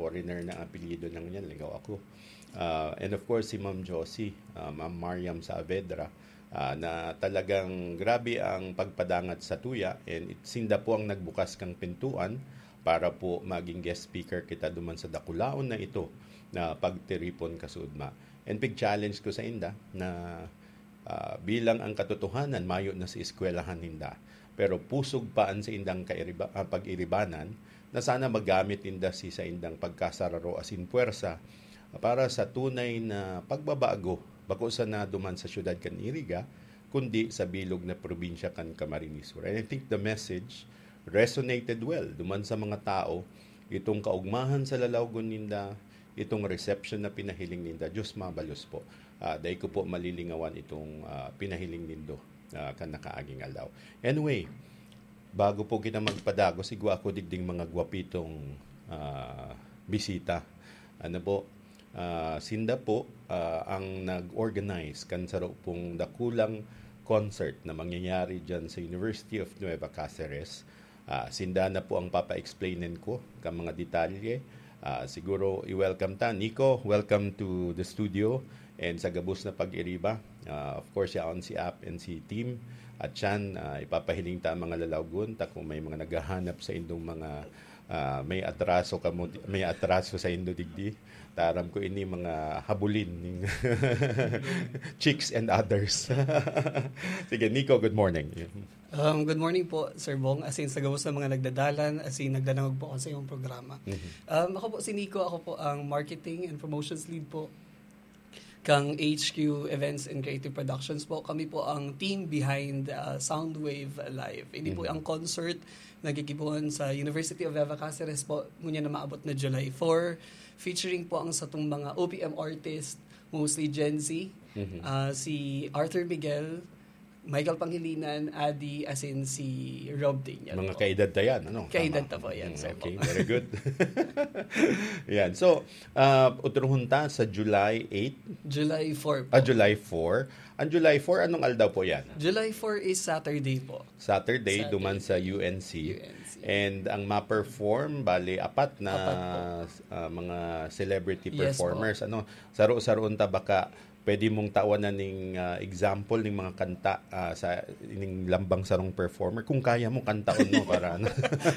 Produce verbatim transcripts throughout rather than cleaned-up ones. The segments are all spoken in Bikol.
foreigner na apelyido na ngunyan, lingaw ako. Ah, and of course, si Ma'am Josie, ah, Ma'am Mariam Saavedra, ah, na talagang grabe ang pagpadangat sa tuya, and it, sinda po ang nagbukas kang pintuan para po maging guest speaker kita duman sa dakulaon na ito na pagtiripon kasudma. And big challenge ko sa inda na, ah, bilang ang katotohanan, mayo na sa eskwelahan ninda. Pero pusog pa an saindang kairiba-, ah, pag-iribanan na sana magamit ninda si saindang pagkasararo asin puwersa para sa tunay na pagbabago, bako sana duman sa siyudad kan Iriga, kundi sa bilog na probinsya kan Camarines Sur. And I think the message resonated well duman sa mga tao, itong kaugmahan sa lalawgon ninda, itong reception na pinahiling ninda. Diyos mabalos po. Ah, dai ko po malilingawan itong, ah, pinahiling nindo, ah, kan nakaaging aldaw. Anyway, bago po kita magpadagos, igwa ako digding mga gwapitong, ah, bisita. Ano po, ah, sinda po, ah, ang nag-organize kan saro pong dakulang concert na mangyayari dyan sa University of Nueva Caceres. Ah, sinda na po ang papa-explainin ko ka mga detalye. Ah, siguro i-welcome ta. Nico, welcome to the studio. And sa gabos na pag-iriba, ah, of course, yaon si Ap and si Team. At siyan, ah, ipapahiling ta ang mga lalawgon ta kung may mga naghahanap sa indong mga, ah, may atraso kamo, may atraso sa indo digdi. Taram ko ini mga habulin ning chicks and others. Sige, Nico, good morning. Um, good morning po, Sir Bong. As in, sa gabos ng mga nagdadalan, as in, nagdadangog po ako sa iyong programa. Mhm. Um, ako po si Nico, ako po ang Marketing and Promotions Lead po kang H Q Events and Creative Productions po. Kami po ang team behind uh, Soundwave Live. Hindi po Mhm. ang concert na gigibohon sa University of Nueva Caceres po, ngunyan na maabot na July four, featuring po ang satong mga O P M artist, mostly Gen Z, Mhm. ah, si Arthur Miguel, Michael Pangilinan, Adi, as in si Rob Daniel Mga po. Kaedad ta yan, ano? Kaedad Tama. ta po yan, Mm, sir. Okay, very good. Yan. So, ah, utrohon ta sa July eight. July four po. Ah, July four. Ang July four, anong aldaw po yan? July four is Saturday po. Saturday, Saturday. Duman sa U N C. U N C. And ang ma-perform, bali, apat na Apat po. ah, mga celebrity Yes po. performers. Ano, saro-saroon ta baka pwede mong tawanan ning ah, example ning mga kanta ah, sa ning lambang sarong performer kung kaya mo kantaon mo para ano.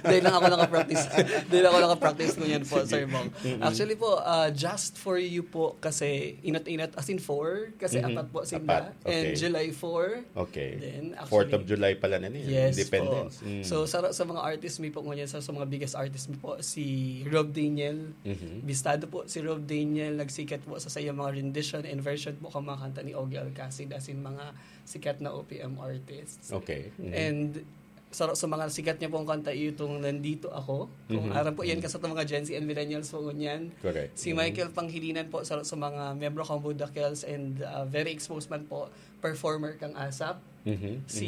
Dahil lang ako nakapractice. Dahil ako nakapractice ko yan po, Sir Bong. Actually po, uh, just for you po kasi inot-inot, as in four, kasi Mhm. apat po sila. Apat, okay. And July four. Okay. Then, actually, Fourth of July pala na niya, Yes Independence. po. Mm. So, sa, sa mga artist mi po ngunyan, sa, sa mga biggest artist mi po, si Rob Daniel. Mhm. Bistado po si Rob Daniel, nagsikat po sa sayang mga rendition and version po kang mga kanta ni Ogie Alcacid, as in mga sikat na O P M artists. Okay. Mhm. And sa, sa mga sikat niya pong kanta, itong Nandito Ako. Kung Mhm. aram po, yan Mhm. kasi itong mga Gen Z and millennials po ngunyan. Correct. Si Mhm. Michael Panghilinan po, sa, sa mga miyembro kang Budakels and uh, very exposed man po, performer kang ASAP. Mhm. Si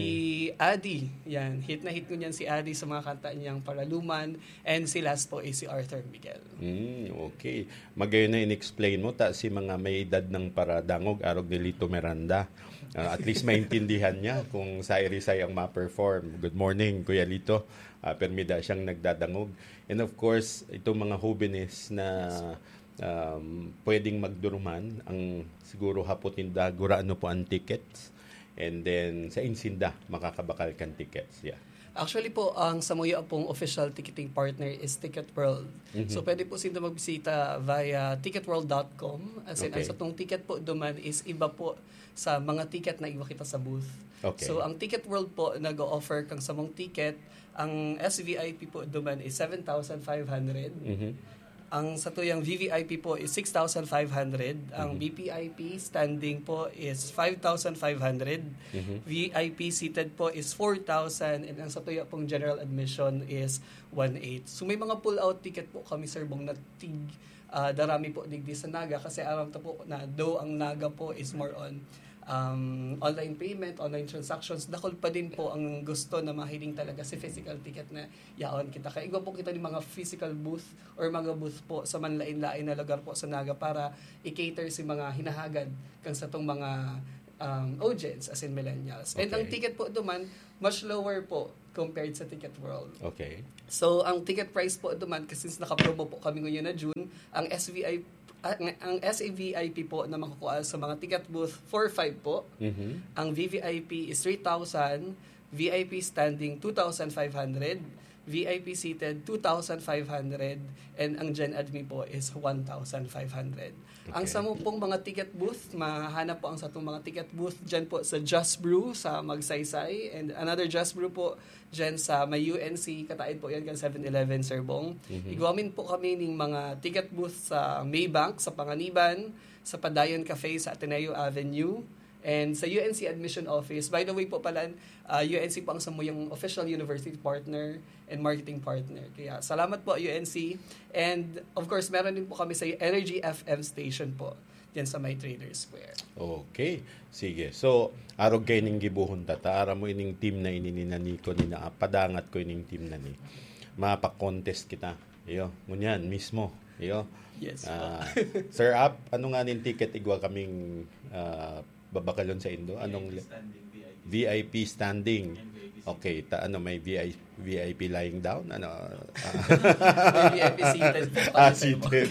Adi, yan. Hit na hit ngunyan si Adi sa mga kanta niyang Paraluman. And si last po is si Arthur Miguel. Mm, okay. Magayon na in-explain mo, ta si mga may edad ng paradangog, arog ni Lito Miranda. Ah, at least maintindihan niya kung sa Irisay ang ma-perform. Good morning, Kuya Lito. Ah, permida siyang nagdadangog. And of course, itong mga hobenes na um, pwedeng magduruman, ang siguro hapot ninda, gurano po ang tickets. And then, sa insinda, makakabakal kan tickets. Yeah. Actually po, ang samuya pong official ticketing partner is Ticket World. Mhm. So, pwede po sinda magbisita via ticket world dot com. As in, Okay. ang satong ticket po duman is iba po sa mga ticket na iwa kita sa booth. Okay. So, ang Ticket World po nag-o-offer kang samong ticket. Ang S V I P po duman is seven thousand five hundred. Mhm. Ang satuyang V V I P po is six thousand five hundred. Ang Mhm. V V I P standing po is five thousand five hundred. Mhm. V I P seated po is four thousand. And ang satuya pong general admission is one eight. So may mga pull-out ticket po kami, Sir Bong, na tig, ah, darami po digdi sa Naga. Kasi aram ta po na though ang Naga po is more on um, online payment, online transactions, dakul pa din po ang gusto na mahiling talaga si physical ticket na yaon kita. Kaya igwa po kita ng mga physical booth or mga booth po sa manlain-lain na lugar po sa Naga para i-cater si mga hinahagad kang satong mga um, audience, as in millennials. And Okay. Ang ticket po duman, much lower po. compared sa Ticket World. Okay. So, ang ticket price po duman, kasi since naka-promo po kami ngayon na June, ang S V I, ah, ng- ang S A V I P po na makukuha sa mga ticket booth, four five po. Mhm. Ang V V I P is three thousand, V I P standing two thousand five hundred, V I P seated two thousand five hundred, and ang Gen Admi po is one thousand five hundred. Ang Okay. samo pong mga ticket booth, mahahanap po ang satong mga ticket booth dyan po sa Just Brew sa Magsaysay, and another Just Brew po dyan sa may U N C, kataid po yan kan seven eleven, Sir Bong. Mhm. Igwamin po kami ning mga ticket booth sa Maybank, sa Panganiban, sa Padayon Cafe sa Ateneo Avenue, and sa U N C Admission Office. By the way po pala, ah, U N C po ang samuyang official university partner and marketing partner. Kaya salamat po, U N C. And of course, meron din po kami sa Energy F M station po, dyan sa may Trader Square. Okay. Sige. So, arog kaining gibohon ta, ta, aram mo ining team na ini ni Nico, ni na, padangat ko ining team na ni. Mapa-contest kita. Iyo, ngunyan mismo. Iyo. Yes po. Ah, Sir Ap, ano nga ning ticket igwa kaming ah, babakalon sa indo? Anong li- Standing V I P. V I P standing? And V I P Okay, ta ano, may V I V I P lying down? Ano? Ah, May V I P seated po. ah, seated.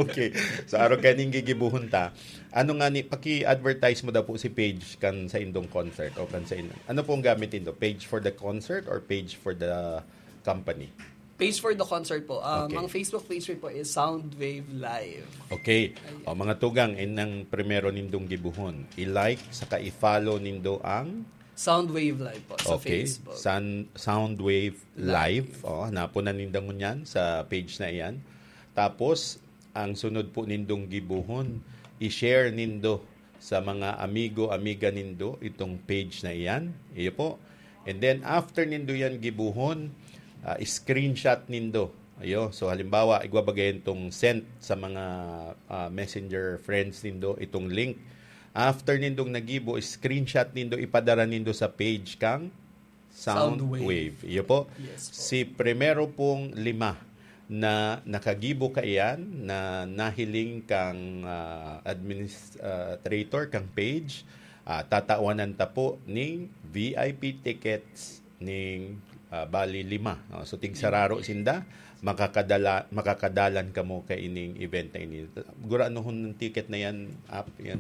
Okay. So, arog kaining gigibohon ta. Ano nga ni, paki-advertise mo daw po si page kan sa indong concert o kan sa in-, ano pong gamit indo? Page for the concert or page for the company? Page for the concert po. Um, Okay. Ang Facebook page po is Soundwave Live. Okay. Ayan. O, mga tugang, in ang primero nindong gibuhon. I-like, saka i-follow nindo ang Soundwave Live po sa okay. Facebook. San, Soundwave Live. O, hanapon na ninda ngunyan sa page na iyan. Tapos, ang sunod po nindong gibuhon, i-share nindo sa mga amigo, amiga nindo itong page na iyan. Iyo po. And then, after nindo yan gibuhon, ah, screenshot nindo. Ayo. So, halimbawa, igwa bagay itong sent sa mga ah, messenger friends nindo itong link. After nindong nagibo, screenshot nindo, ipadara nindo sa page kang Soundwave. Soundwave. Iyo po. Yes po. Si primero pong lima na nakagibo kaiyan na nahiling kang ah, administrator kang page, ah, tatawanan ta po ning V I P tickets ning ah, bali lima. No? So, tigsararo sinda, makakadala, makakadalan kamo kaining event na ini. Guranohon ng ticket na yan, Ap, yan.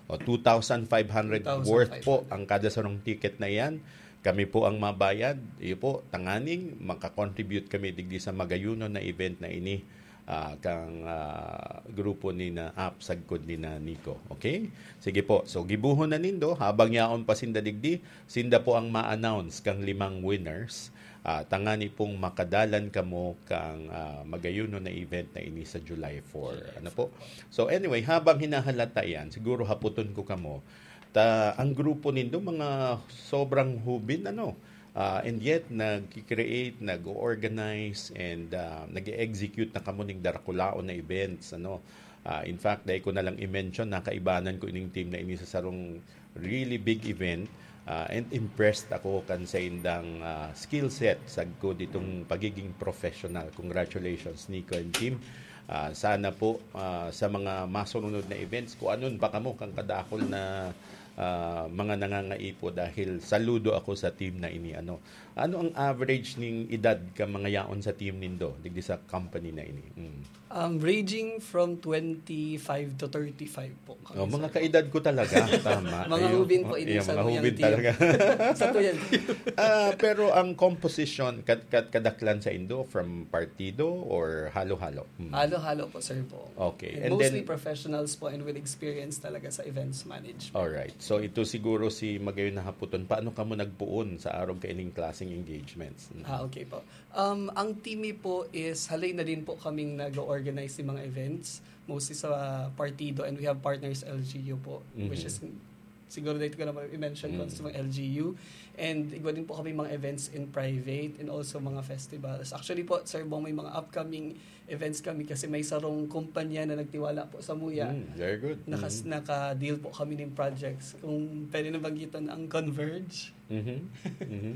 O, two thousand five hundred worth po ang kada sarong ticket na yan. Kami po ang mabayad. Iyo po, tanganing makakontribute kami digdi sa magayunon na event na ini ah, kang ah, grupo ni na Ap sagkod ni na Nico. Okay? Sige po. So, gibuhon na nindo, habang yaon pa sinda digdi, sinda po ang ma-announce kang limang winners. Ah, tangani pong makadalan kamo kang ah, magayunon na event na ini sa July four. Ano po? So, anyway, habang hinahalata yan, siguro haputon ko kamo, ta, ang grupo nindo, mga sobrang hubin, ano? Ah, and yet, nag-create, nag-organize, and ah, nag-execute na kamo ning darakulaon na events, ano? Ah, in fact, dai ko na lang i-mention, nakaibanan ko ining team na ini sa sarong really big event, ah, and impressed ako kan sa indang ah, skill set sagkod itong pagiging professional. Congratulations, Nico and team. Ah, sana po ah, sa mga masunod na events, kung anon pa kamo kang kadakol na ah, mga nangangaipo, dahil saludo ako sa team na ini. Ano, ano ang average ning edad ka mga yaon sa team nindo digdi sa company na ini? Mm. Um, ranging from twenty-five to thirty-five po. Oh, mga kaedad ko talaga, tama. Mga Ayun. hubin po Oh, ini yeah, sa mga tuyang hubin team. Talaga. Sa tuyang team. Ah, pero ang composition, kad, kad, kadaklan sa indo, from partido or halo-halo? Hmm. Halo-halo po, Sir Bong. Okay. And And mostly then professionals po and with experience talaga sa events management. Alright. So, ito siguro si Magayon na Haputon. Paano ka mo nagpuon sa arog kaining klaseng engagements? Mm. Ah, okay po. Um, ang team po is halay na din po kaming nag-organize ng mga events, mostly sa partido, and we have partners L G U po, Mhm. which is siguro dito ko na i-mention ko Mm. sa mga L G U. And igwa din po kami mga events in private and also mga festivals. Actually po, Sir Bong, may mga upcoming events kami kasi may sarong kumpanya na nagtiwala po sa Muya. Mm, very good. Nakas, Mm. Naka-deal po kami ng projects. Kung pwede na banggiton ang Converge. Mhm. Mhm.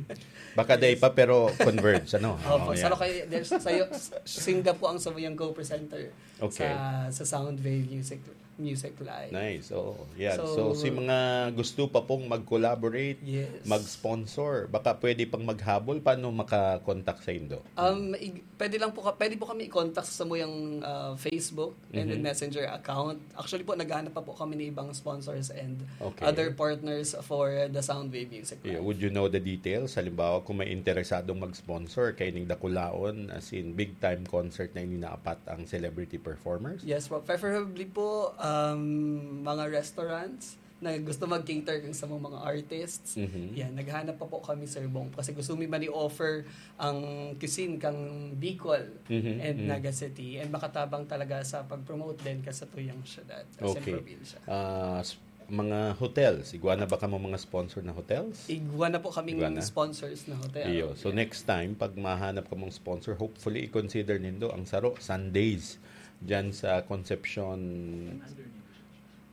Baka day pa, pero Converge, ano? Opo, Oo, sa yan. Lokay, there's, sayo, sinda po ang samuyang co-presenter Okay. sa, sa Soundwave Music. Music Live. Nice, oo. Yan. So, so si mga gusto pa pong mag-collaborate, yes, mag-sponsor, baka pwede pang maghabol, paano makakontak sa Indo? Um, ig- pwede lang po ka- pwede po kami i-contact sa samuyang uh, Facebook and mm-hmm. Messenger account. Actually po, naghahanap pa po kami ng ibang sponsors and okay. Other partners for the Soundwave Music Live. Yeah, would you know the details? Halimbawa, kung may interesadong mag-sponsor kay ning dakulaon, as in big time concert na ininaapat ang celebrity performers? Yes po. Preferably po, um, mga restaurants na gusto mag-cater kang sa mga artists. Mm-hmm. Yan, naghanap pa po kami, Sir Bong. Kasi gusto mi man i-offer ang cuisine kang Bicol mm-hmm. And mm-hmm. Naga City. And makatabang talaga sa pag-promote din ka sa tuyang syudad, okay. Probinsya. Uh, mga hotels, igwa na ba kamo mga sponsor na hotels? Igwa na po kaming igwa na? Sponsors na hotel. Iyo. So yeah. Next time, pag mahanap kamong sponsor, hopefully i-consider nindo ang Saro, Sundays, dyan sa Concepcion.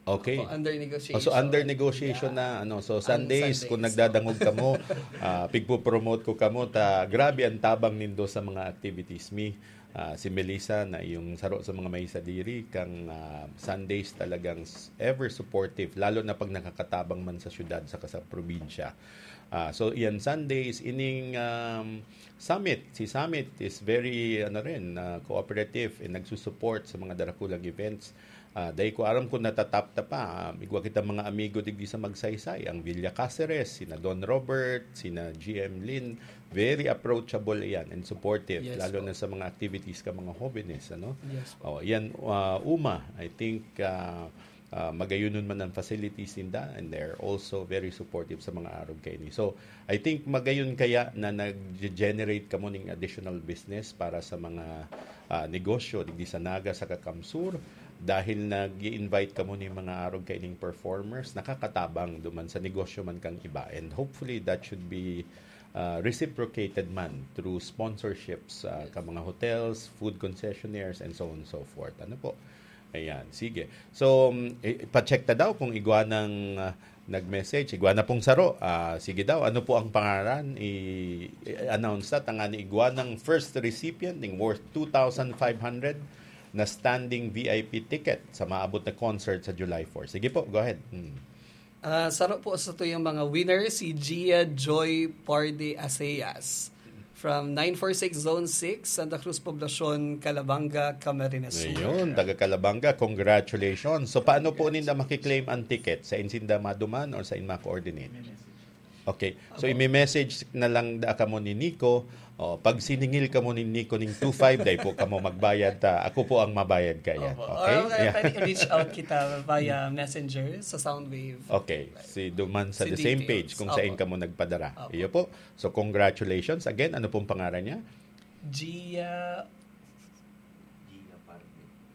Okay. Ako, under negotiation. Oh, so under negotiation yeah. Na ano. So Sundays, Sundays kung nagdadangog kamo, uh, pigpo-promote ko kamo ta grabe ang tabang nindo sa mga activities mi. Uh, si Melissa na yung saro sa mga may sadiri kang uh, Sundays talagang ever supportive lalo na pag nakakatabang man sa syudad saka sa probinsya. Uh, so yan Sundays ining um, Summit, si Summit is very ano rin uh, cooperative and nagsusupport sa mga darakulang events. Uh, dahil ko aram kung natatap ta pa, uh, igwa kita mga amigo digdi sa Magsaysay, ang Villa Caceres, sina Don Robert, sina G M Lin, very approachable iyan and supportive, yes, lalo po. Na sa mga activities ka mga hobenes, ano? Yes, po. Oh, yan, uh, Uma, I think uh, uh, magayonon man ang facilities ninda and they're also very supportive sa mga arog kaini. So, I think magayon kaya na nag-generate kamo ning additional business para sa mga uh, negosyo digdi sa Naga sa Kakamsur dahil nag-invite kamo ni mga arog kaining performers, nakakatabang duman sa negosyo man kang iba. And hopefully that should be uh, reciprocated man through sponsorships uh, ka mga hotels, food concessionaires and so on and so forth. Ano po? Ayan, sige. So, um, i- pacheck ta daw kung igwa ng uh, nag-message. Igwa na pong saro. Ah, sige daw, ano po ang pangaran? I- i-announce ta tangani igwa ng first recipient ning worth two thousand five hundred na standing V I P ticket sa maabot na concert sa July four. Sige po, go ahead. Hmm. Ah, saro po sa tuyang mga winner, si Gia Joy Parde Aseyas from nine four six Zone six, Santa Cruz Poblacion, Calabanga, Camarines Sur. Ayun, taga Calabanga, congratulations. So, paano po ninda makiklaim ang ticket? Sa insinda maduman or sa inma coordinate? Okay. So, imi-message na lang da kamo ni Nico. Oh, pag siningil kamo ni Nico ning two five, dai po kamo magbayad ta. Ako po ang mabayad kaya. Opo. Okay? Or, uh, yeah. Pwede reach out kita via messenger sa Soundwave. Okay. Si Duman sa si the details. Same page kung saan kamo nagpadara. Opo. Iyo po. So, congratulations. Again, ano pong pangaran niya? Gia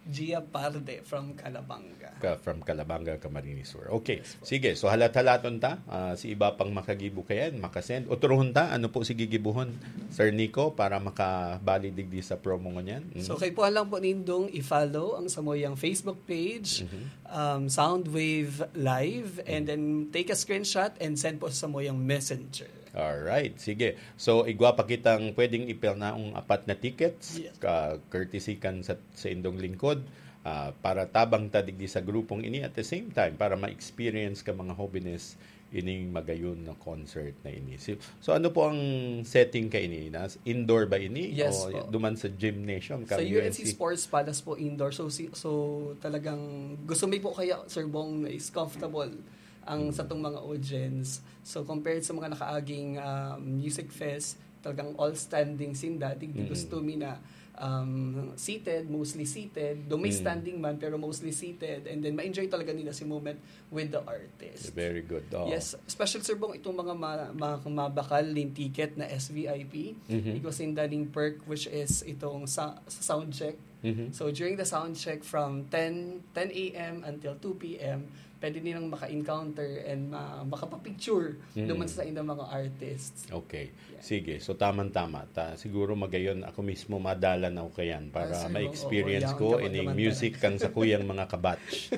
Gia Parde from Calabanga. Ka, from Calabanga, Camarines Sur. Okay. Yes, sige, so halat-halaton ta. Uh, si iba pang makagibo kayan, makasend. Otrohon ta, ano po si gigibuhon, Sir Nico, para makabali digdi sa promo ngunyan? Mm. So, kaipuhan lang po nindong i-follow ang samuyang Facebook page, mm-hmm. Um, Soundwave Live, and mm-hmm. Then take a screenshot and send po sa samuyang messenger. Alright, sige. So, igwa pa kitang pwedeng ipilnaong apat na tickets, yes. Ka, courtesy kan sa, sa indong lingkod, uh, para tabang ta digdi sa grupong ini at the same time, para ma-experience ka mga hobenes ining magayon na concert na ini. So, so ano po ang setting ka ini? Nas, indoor ba ini? Yes, o po. Duman sa gymnasium? Sa U N C, U N C Sports Palace po, indoor. So, si, so talagang gusto mi po kaya, Sir Bong, is comfortable ang mm. Satong mga audience. So, compared sa mga nakaaging uh, music fest, talagang all standing sinda. Di, di mm. Gusto mi na um, seated, mostly seated. Though may mm. Standing man, pero mostly seated. And then, ma-enjoy talaga nila si moment with the artist. Very good. Oh. Yes, especially, Sir Bong, itong mga ma- ma- mabakal ning ticket na S V I P, mm-hmm. Igwa sinda ning perk, which is itong sa, sa sound check. Mm-hmm. So, during the sound check from ten, ten a.m. Until two p.m., pwede nilang maka-encounter and ma- makapapicture mm. Naman sa ilang mga artists. Okay. Yeah. Sige. So, tamang-tama. Ta, siguro magayon ako mismo madalan ako kayan para ah, ma-experience oh, oh, ko ining music kang sa kuyang mga kabatch.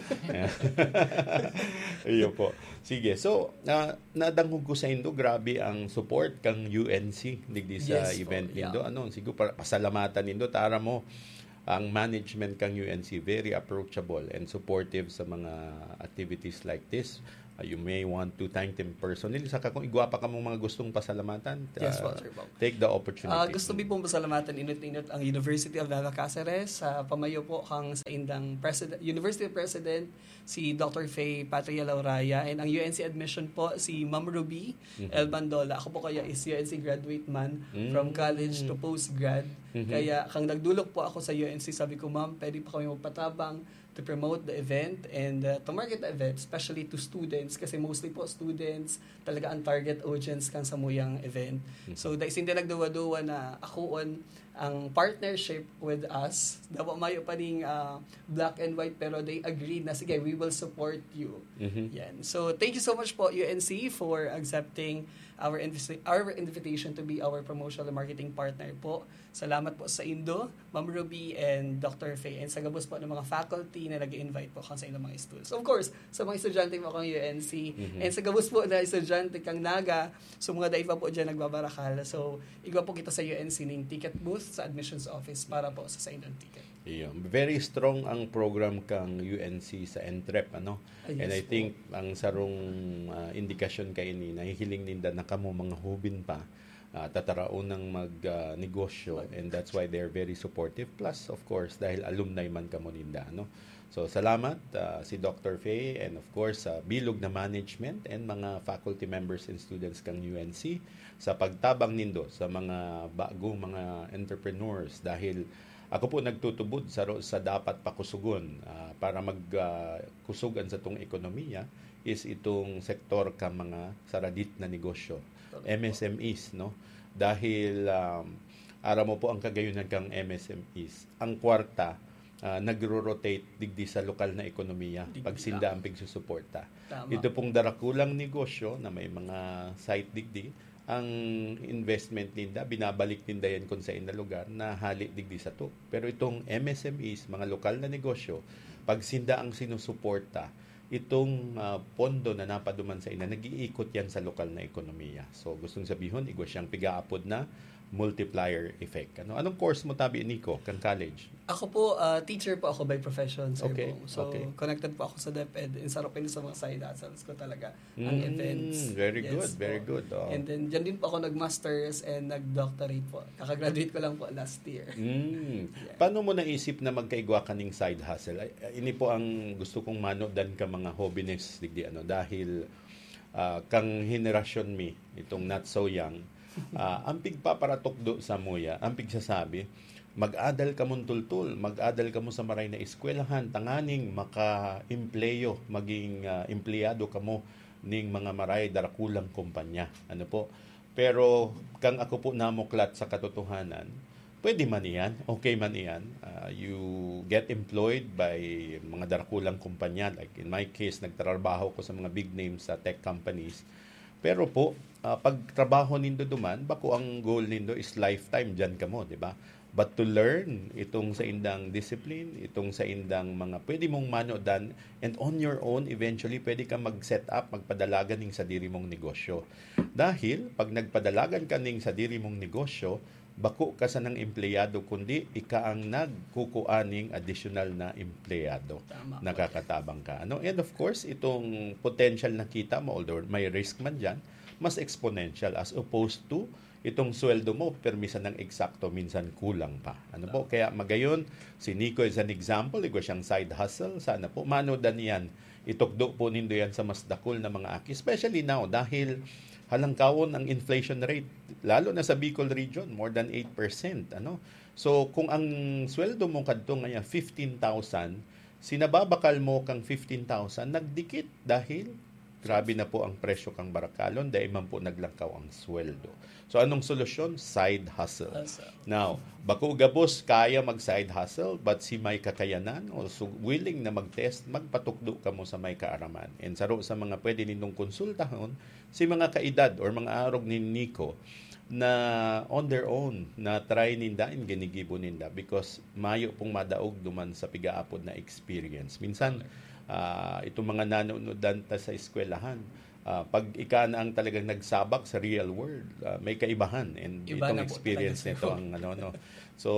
Iyo po. Sige. So, uh, nadangog ko sa indo, grabe ang support kang U N C digdi sa yes, event po, yeah. Nindo. Ano, siguro para pasalamatan nindo, tara mo ang management kang U N C very approachable and supportive sa mga activities like this. Uh, you may want to thank them personally. Saka kung igwa pa kamong mga gustong pasalamatan, Yes uh, po, Sir Bob. take the opportunity. Ah, gusto mi pong pasalamatan inot-inot ang University of Naga Cáceres sa pamayo po kang saindang president, University President, si Doctor Faye Patria Lauraya, and ang U N C admission po, si Ma'am Ruby Mhm. El Bandola. Ako po kaya is U N C graduate man, Mm. from college to postgrad. Mhm. Kaya kang nagdulok po ako sa U N C, sabi ko, "Ma'am, pwede pa kami magpatabang to promote the event and uh, to market the event, especially to students, kasi mostly po students talaga ang target audience kan samuyang event." Mhm. So, dai sinda nagduwa-duwa na akoon ang partnership with us. Dawa mayo pa ning uh, black and white, pero they agreed na, "Sige, we will support you." Mhm. Yan. So, thank you so much po, U N C, for accepting our, invisi- our invitation to be our promotional marketing partner po. Salamat po sa indo, Ma'am Ruby and Doctor Faye, and sa gabos po ng mga faculty na nag-invite po kang sa inyong mga students. Of course, sa mga estudyante po kang U N C, Mhm. and sa gabos po na estudyante kang Naga, so mga daiva po dyan nagbabarakal. So, igwa po kita sa U N C ning ticket booth sa admissions office para po sa sa inyong ticket. Iyo. Very strong ang program kang U N C sa entrep, ano? Ah, yes And I po. think ang sarong ah, indikasyon kaini, nahihiling ninda na kamo mga hubin pa, ah, tataraon ng mag ah, negosyo, and that's why they're very supportive. Plus, of course, dahil alumni man kamo ninda, no? So, salamat ah, si Doctor Faye and of course sa bilog na management and mga faculty members and students kang U N C sa pagtabang nindo sa mga bagong mga entrepreneurs, dahil ako po nagtutubod sa ro- sa dapat pakusugon ah, para mag ah, kusog an satong ekonomiya is itong sektor ka mga saradit na negosyo, M S M Es, no? Dahil um, aram mo po ang kagayunan kang M S M Es. Ang kwarta ah, nagro-rotate digdi sa lokal na ekonomiya Digdi pag sinda ang pigsusuporta. Tama. Ito pong darakulang negosyo na may mga site digdi, ang investment ninda, binabalik ninda yan kung sa na lugar na hali digdi sa to. Pero itong M S M Es, mga lokal na negosyo, pag sinda ang sinusuporta, itong ah, pondo na napaduman sa ina, nag-iikot yan sa lokal na ekonomiya. So, gustong sabihon, igwa siyang pigaapod na multiplier effect. Ano, anong course mo tabi, Nico, kang college? Ako po, ah, teacher po ako by profession, Sir Okay, Bong. So, okay. Connected po ako sa DepEd, and isa rin po yun sa mga side hustles ko talaga, ang Mm, events. very Yes good, very po. good, oh. And then, dyan din po ako nag-masters and nag-doctorate po. Kakagraduate ko lang po last year. Mm. Paano mo naisip na magkaigwa ka ning side hustle? Ay, ay, ini po ang gusto kong manodan ka mga hobbies, digdi, ano, dahil ah, kang henerasyon mi, itong not so young, ah, ang pigpaparatukdo sa muya, ang pigsasabi, mag-adal kamon tultol, mag-adal kamo sa maray na eskwelahan, tanganing maka-empleyo, maging ah, empleyado kamo ning mga maray darakulang kumpanya. Ano po? Pero kang ako po namuklat sa katotohanan, pwede man iyan, okay man iyan. Ah, you get employed by mga darakulang kumpanya. Like in my case, nagtrabaho ko sa mga big names sa tech companies. Pero po, ah, pag trabaho nindo duman, bako ang goal nindo is lifetime dyan kamo, di ba? But to learn itong sa indang discipline, itong sa indang mga pwede mong manodan, and on your own, eventually, pwede ka mag-set up, magpadalagan ning sadiri mong negosyo. Dahil pag nagpadalagan ka ning sadiri mong negosyo, bako ka sanang empleyado, kundi ika ang nagkukua ning additional na empleyado. Tama po. Nakakatabang ka. Ano? And of course, itong potential na kita mo, although may risk man dyan, mas exponential as opposed to itong sweldo mo, permi sanang eksakto, minsan kulang pa. Ano po? Kaya magayon, si Nico is an example, igwa siyang side hustle. Sana po, manodan iyan. Itukdo po nindo yan sa mas dakul na mga aki. Especially now, dahil halangkawon ang inflation rate, lalo na sa Bicol region, more than eight percent. Ano? So, kung ang sweldo mo kadto ngayon, fifteen thousand, sinababakal mo kang fifteen thousand, nagdikit dahil grabe na po ang presyo kang barakalon, dahil man po naglangkaw ang sweldo. So, anong solusyon? Side hustle. Hustle. Now, bako gabos kaya mag-side hustle, but si may kakayanan o su- willing na mag-test, magpatukdo kamo sa may kaaraman. And saro sa mga pwede nindong konsultahon, si mga kaedad or mga arog ni Nico na on their own, na try ninda and ginigibo ninda because mayo pong madaog duman sa pigaapod na experience. Minsan, ah, itong mga nanonodan ta sa eskwelahan, Ah, pag ika na ang talagang nagsabak sa real world, ah, may kaibahan, and Iba itong na po experience talaga, nito sir. Ang ano, no. So,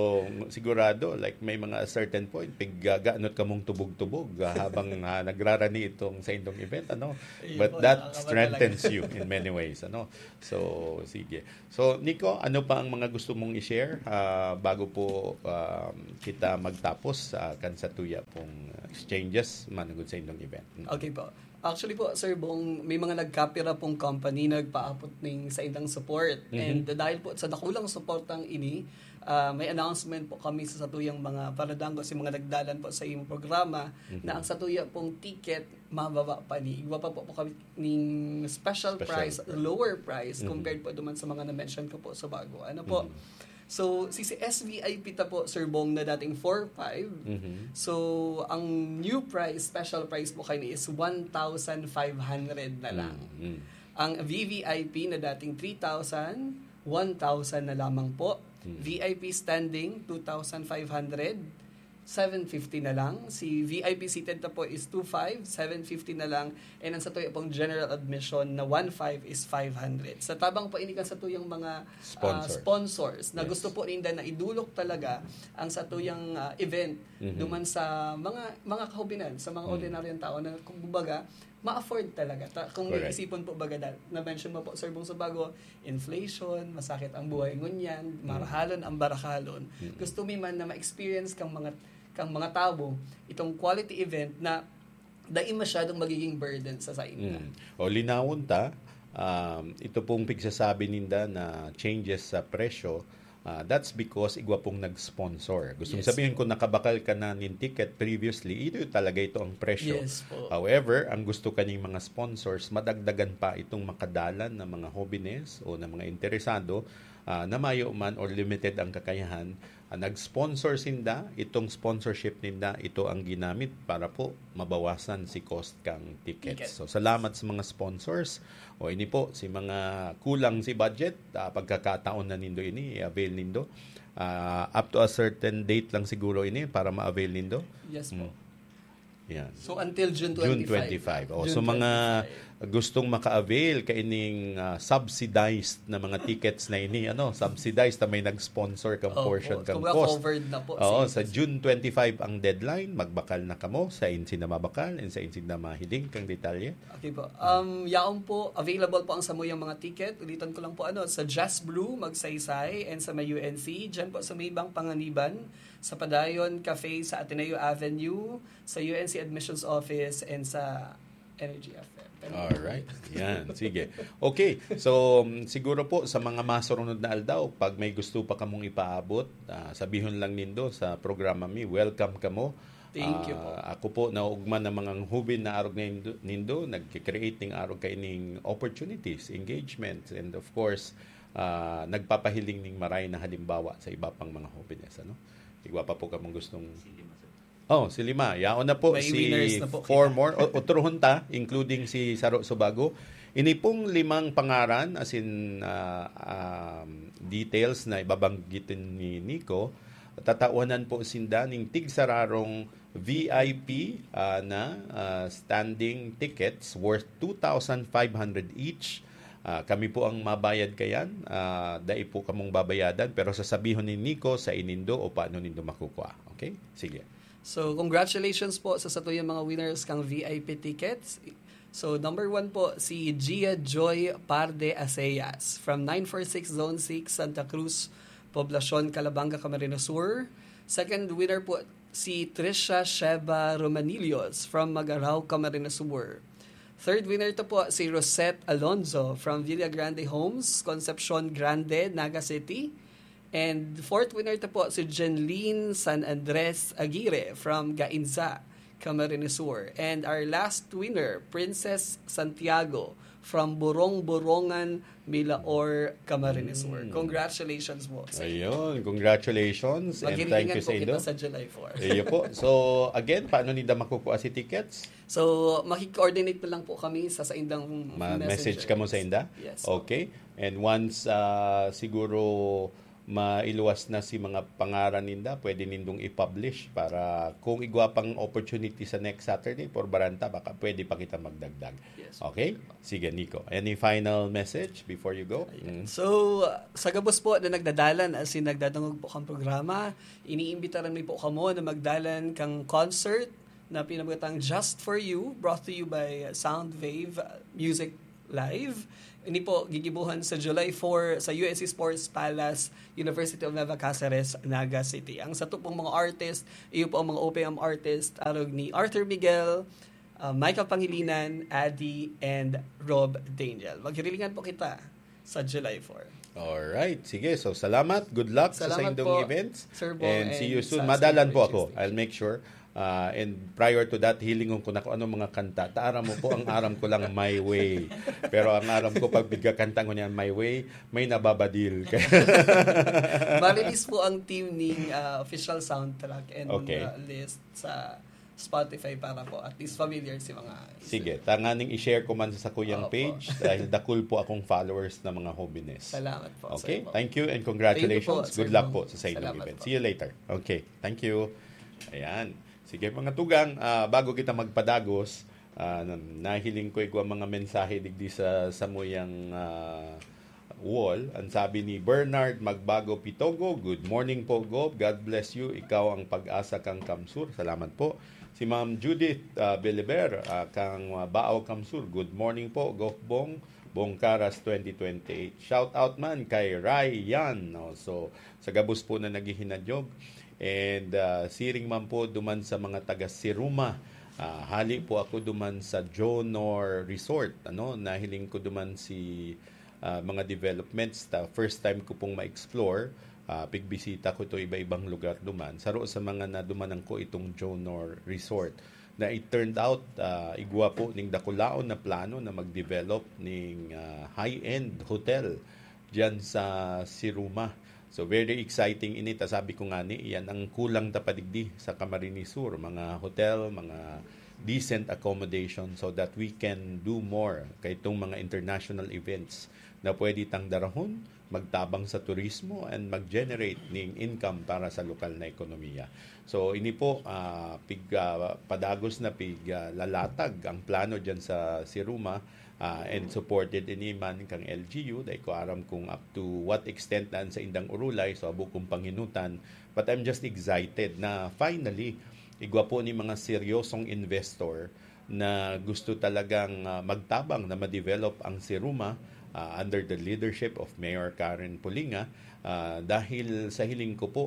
sigurado, like, may mga certain point, piggaganot ka mong tubog-tubog, ah, habang, ah, nagrarani itong sa indong event, ano. Ayun But po, that nakakaba strengthens you in many ways, ano. So, sige. So, Nico, ano pa ang mga gusto mong i-share, ah, bago po, um, kita magtapos sa kan sa tuya pong, ah, exchanges manugod sa indong event? Mm. Okay po. Actually po, Sir Bong, may mga nagkapira pong company na nagpaabot ning sa indang support. Mhm. And dahil po sa dakulang suportang ini, ah, may announcement po kami sa satuyang mga paradanggo, sa mga nagdalan po sa iyong programa, Mhm. na ang satuya pong ticket, mababa pa ni. Igwa pa po, po kami ning special, Special price, price. lower price, Mhm. compared po duman sa mga na-mention ko po sa bago. Ano po? Mhm. So, si, si S V I P ta po, Sir Bong, na dating four five. Mhm. So, ang new price, special price po kayo is one thousand five hundred na lang. Mm. Ang V V I P na dating three thousand, one thousand na lamang po. Mm. V I P standing, two thousand five hundred, seven fifty na lang. Si V I P seated na po is two five, seven fifty na lang. And ang sa tuya pong general admission na one five is five hundred. Sa tabang po ini kan sa tuyang mga ah, Sponsor. sponsors na Yes. gusto po ninda na idulok talaga ang sa tuyang ah, event Mhm. duman sa mga mga kahubinan, sa mga Mhm. ordinaryong tao na kumbaga ma-afford talaga. Ta- kung Correct. iisipon po baga dahil na-mention mo po, Sir Bong, sa bago, inflation, masakit ang buhay ngunyan, Mhm. marahalon ang barakalon. Mhm. Gusto mi man na ma-experience kang mga kang mga tao itong quality event na dai masyadong magiging burden sa sainda. Mm. O linawon ta, um, ito pong pigsasabi ninda na changes sa presyo, ah, that's because igwa pong nag-sponsor. Gustong Yes. Sabihin, kung nakabakal ka na nin ticket previously, ito talaga ito ang presyo. Yes po. However, ang gusto kaning mga sponsors, madagdagan pa itong makadalan na mga hobenes o na mga interesado, ah, na mayo man or limited ang kakayahan, ah, nag-sponsor sinda, itong sponsorship ninda, ito ang ginamit para po mabawasan si cost kang tickets. Ticket. So, salamat sa mga sponsors. O ini po, si mga kulang si budget, ah, pagkakataon na nindo ini, i-avail nindo. Ah, up to a certain date lang siguro ini para ma-avail nindo. Yes po. Mm. Yan. So until June June twenty-five. twenty-five. Oh, June so mga twenty-five. Gustong maka-avail kaining ah, subsidized na mga tickets na ini, ano, subsidized na may nag-sponsor kang Opo, portion kang kumbaga cost. covered na po. Oo, Sige. Sa June twenty-five ang deadline, magbakal na kamo sa insin na mabakal and sa insin na mahiling kang detalye. Okay po. Um, yaon po, available po ang samuyang mga ticket. Ulitan ko lang po, ano, sa Jazz Brew, Magsaysay, and sa may U N C. Diyan po sa may Bang Panganiban, sa Padayon Cafe, sa Ateneo Avenue, sa U N C Admissions Office, and sa Energy F M. Alright. Yan. Sige. Okay. So, um, siguro po sa mga masurunod na aldaw, pag may gusto pa kamong ipaabot, ah, sabihon lang nindo sa programa mi, welcome kamo. Thank you po. Ah, ako po, naugman ng mga hubin na arog nindo, nindo nagki-create ning arog kaining opportunities, engagements, and of course, ah, nagpapahiling ning maray na halimbawa sa iba pang mga hubines, ano? Igwa pa po kamong gustong Oh, si lima. Yaon na po May si winners na po four kita. More. O, otrohon ta, including si Saro Subago. Ini pong limang pangaran, as in, ah, um, details na ibabanggit ni Nico, tatawanan po sinda ning tigsararong V I P ah, na ah, standing tickets worth two thousand five hundred each. Ah, kami po ang mabayad kayan. Ah, dai po kamong babayadan, pero sasabihon ni Nico sa inindo o paano nindo makukuha. Okay? Sige. So, congratulations po sa satuyang mga winners kang V I P tickets. So, number one po, si Gia Joy Parde Aceas from nine four six Zone six, Santa Cruz, Poblacion, Calabanga, Camarines Sur. Second winner po, si Trisha Sheba Romanillos from Magarao, Camarines Sur. Third winner to po, si Rosette Alonzo from Villa Grande Homes, Concepcion Grande, Naga City. And fourth winner to po, si Jenlyn San Andres Aguirre from Gainza, Camarines Sur. And our last winner, Princess Santiago from Burong-Burongan, Milaor, Camarines Sur. Mm. Congratulations po sa inyo. Ayun, congratulations and thank Maghihilingan you po sa kita inyo. Sa July four. Iyo po. So, again, paano ninda makukuha si tickets? So, makikoordinate na lang po kami sa saindang Ma- messenger. Message kamo sa inda? Yes. Okay. And once ah, siguro mailuwas na si mga pangaran ninda, pwede nindong i-publish para kung igwa pang opportunity sa next Saturday for Baranta, baka pwede pa kita magdagdag. Yes. Okay? Sige, Nico. Any final message before you go? Mm. So, uh, sa gabos po na nagdadalan asin nagdadangog po kang programa, iniimbitaran mi po kamo na magdalan kang concert na pinamatang Just For You, brought to you by Soundwave Music Live. Ini po gigibuhan sa July four sa U S C Sports Palace, University of Nueva Caceres, Naga City. Ang sato pong mga artist, iyo po ang mga O P M artist, arog ni Arthur Miguel, uh, Michael Pangilinan, Adi, and Rob Daniel. Maghirilingan po kita sa July four. Alright. Sige. So, salamat. Good luck sa Salamat saindong po, events. Sir Bong, And see and you soon. sa Madalan Sir po ako. Bong. I'll make sure. Uh, and prior to that, hilingon ko na kung anong mga kanta. Ta aram mo po, ang aram ko lang My Way. Pero ang aram ko, pag bigla kanta ko niyan, My Way, may nababadil. Ma-release po ang team ning uh, official soundtrack and Okay. uh, list sa Spotify para po at least familiar si mga Sige, tanganing i-share ko man sa sakuyang Opo. Page dahil dakul po akong followers na mga hobenes. Salamat po, Okay, Sir Bong. Thank you and congratulations. Thank you po, Sir Good luck Bong. Po sa sa inyong Salamat event. Po. See you later. Okay, thank you. Ayan. Sige, mga tugang, ah, bago kita magpadagos, ah, nahiling ko igwa mga mensahe digdi sa samuyang ah, wall. Ang sabi ni Bernard Magbago Pitogo, "Good morning po, Gob. God bless you. Ikaw ang pag-asa kang Kamsur." Salamat po. Si Ma'am Judith ah, Beliber, ah, kang ah, Baaw Kamsur, "Good morning po, Gob Bong. Bongkaras twenty twenty-eight." Shout out man kay Ryan. No? So, sa gabos po na naghihinanyog. And ah, siring man po duman sa mga taga Siruma. Ah, hali po ako duman sa Jonor Resort. Ano, nahiling ko duman si ah, mga developments. Ta first time ko pong ma-explore, ah, pigbisita ko to iba-ibang lugar duman. Saro sa mga nadumanan ko itong Jonor Resort na it turned out ah, igwa po ning dakulaon na plano na mag-develop ning ah, high-end hotel diyan sa Siruma. So, very exciting ini. Ta sabi ko nga ni, yan ang kulang ta pa digdi sa Camarines Sur, mga hotel, mga decent accommodation so that we can do more kay itong mga international events na pwede tang darahon, magtabang sa turismo and mag-generate ning income para sa lokal na ekonomiya. So, ini po, ah, pig, ah, padagos na pig, ah, lalatag ang plano diyan sa Siruma. Ah, and supported ini man kang L G U. Dai ko aram kung up to what extent na sa indang urulay, so abo kong panginutan. But I'm just excited na finally, igwa po ni mga seryosong investor na gusto talagang ah, magtabang na ma-develop ang Siruma ah, under the leadership of Mayor Karen Pulinga. Ah, dahil sa hiling ko po,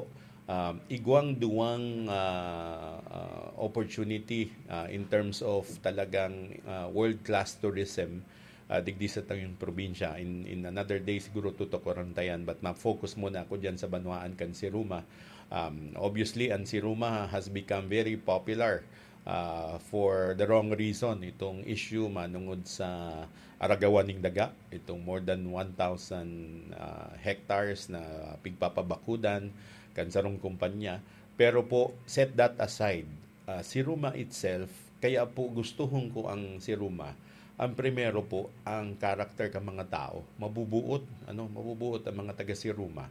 um, igwang duwang ah, ah, opportunity ah, in terms of talagang ah, world-class tourism ah, digdi sa tayong probinsya. In, in another day, siguro tutukuran ta yan. But ma-focus muna ako dyan sa banwaan kan Siruma. Um, obviously, ang Siruma has become very popular ah, for the wrong reason. Itong issue manungod sa aragawan ning daga, itong more than one thousand ah, hectares na pigpapabakudan kan sarong kumpanya. Pero po, set that aside. Ah, Siruma itself, kaya po gustuhon ko ang Siruma. Ang primero po, ang character kan mga tao. Mabubuot, ano, mabubuot ang mga taga Siruma.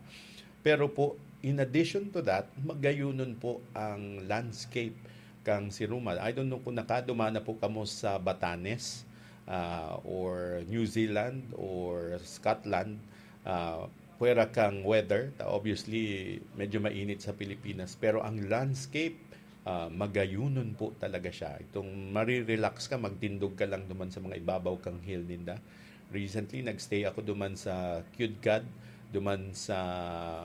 Pero po, in addition to that, magayunon po ang landscape kang Siruma. I don't know kung nakaduman na po kamo sa Batanes ah, or New Zealand or Scotland. Ah, pwera kang weather, ta obviously medyo mainit sa Pilipinas, pero ang landscape ah, magayunon po talaga siya. Itong marirelax ka, magtindog ka lang duman sa mga ibabaw kang hill ninda. Recently, nag-stay ako duman sa Kiudgad, duman sa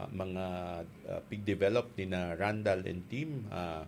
mga ah, pig-develop ni na Randall and team. Ah,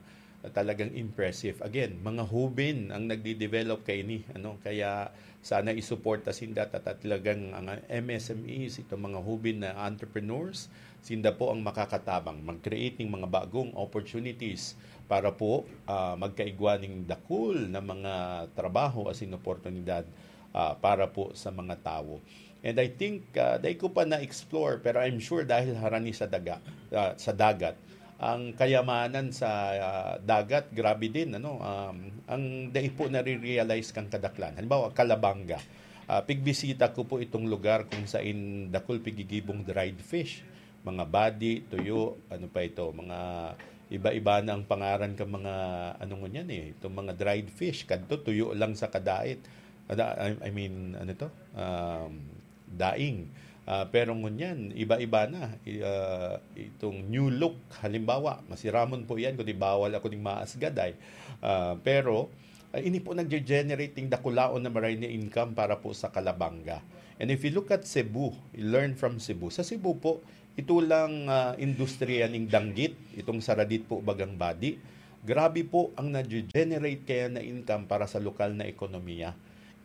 talagang impressive. Again, mga hubin ang nagdi-develop kaini, ano, kaya sana isuporta sinda ta talagang ang M S M Es, itong mga hubin na entrepreneurs, sinda po ang makakatabang mag-create ng mga bagong opportunities para po ah, magkaigwa ning dakul na mga trabaho asin oportunidad ah, para po sa mga tawo. And I think ah, dai ko pa na-explore, pero I'm sure dahil harani sa daga, ah, sa dagat, ang kayamanan sa ah, dagat, grabe din, ano, um, ang dai po nare-realize kang kadaklan. Halimbawa, Calabanga. Ah, pigbisita ko po itong lugar kung sain dakul pigigibong dried fish. mga badi, tuyo, ano pa ito, mga iba-iba na ang pangaran ka mga, ano ngunyan eh, itong mga dried fish, kadto tuyo lang sa kadait. Ada, I, I mean, ano to? Um, daing. Ah, pero ngunyan, iba-iba na. I, ah, itong new look, halimbawa, masiramon po yan, kundi bawal ako ning maasgad ay. Ah, pero, ah, ini po nagge-generate ning dakulaon na maray na income para po sa Calabanga. And if you look at Cebu, you learn from Cebu. Sa Cebu po, ito lang, ah, industriya ning danggit, itong saradit po bagang badi. Grabe po ang nagge-generate kaya na income para sa lokal na ekonomiya.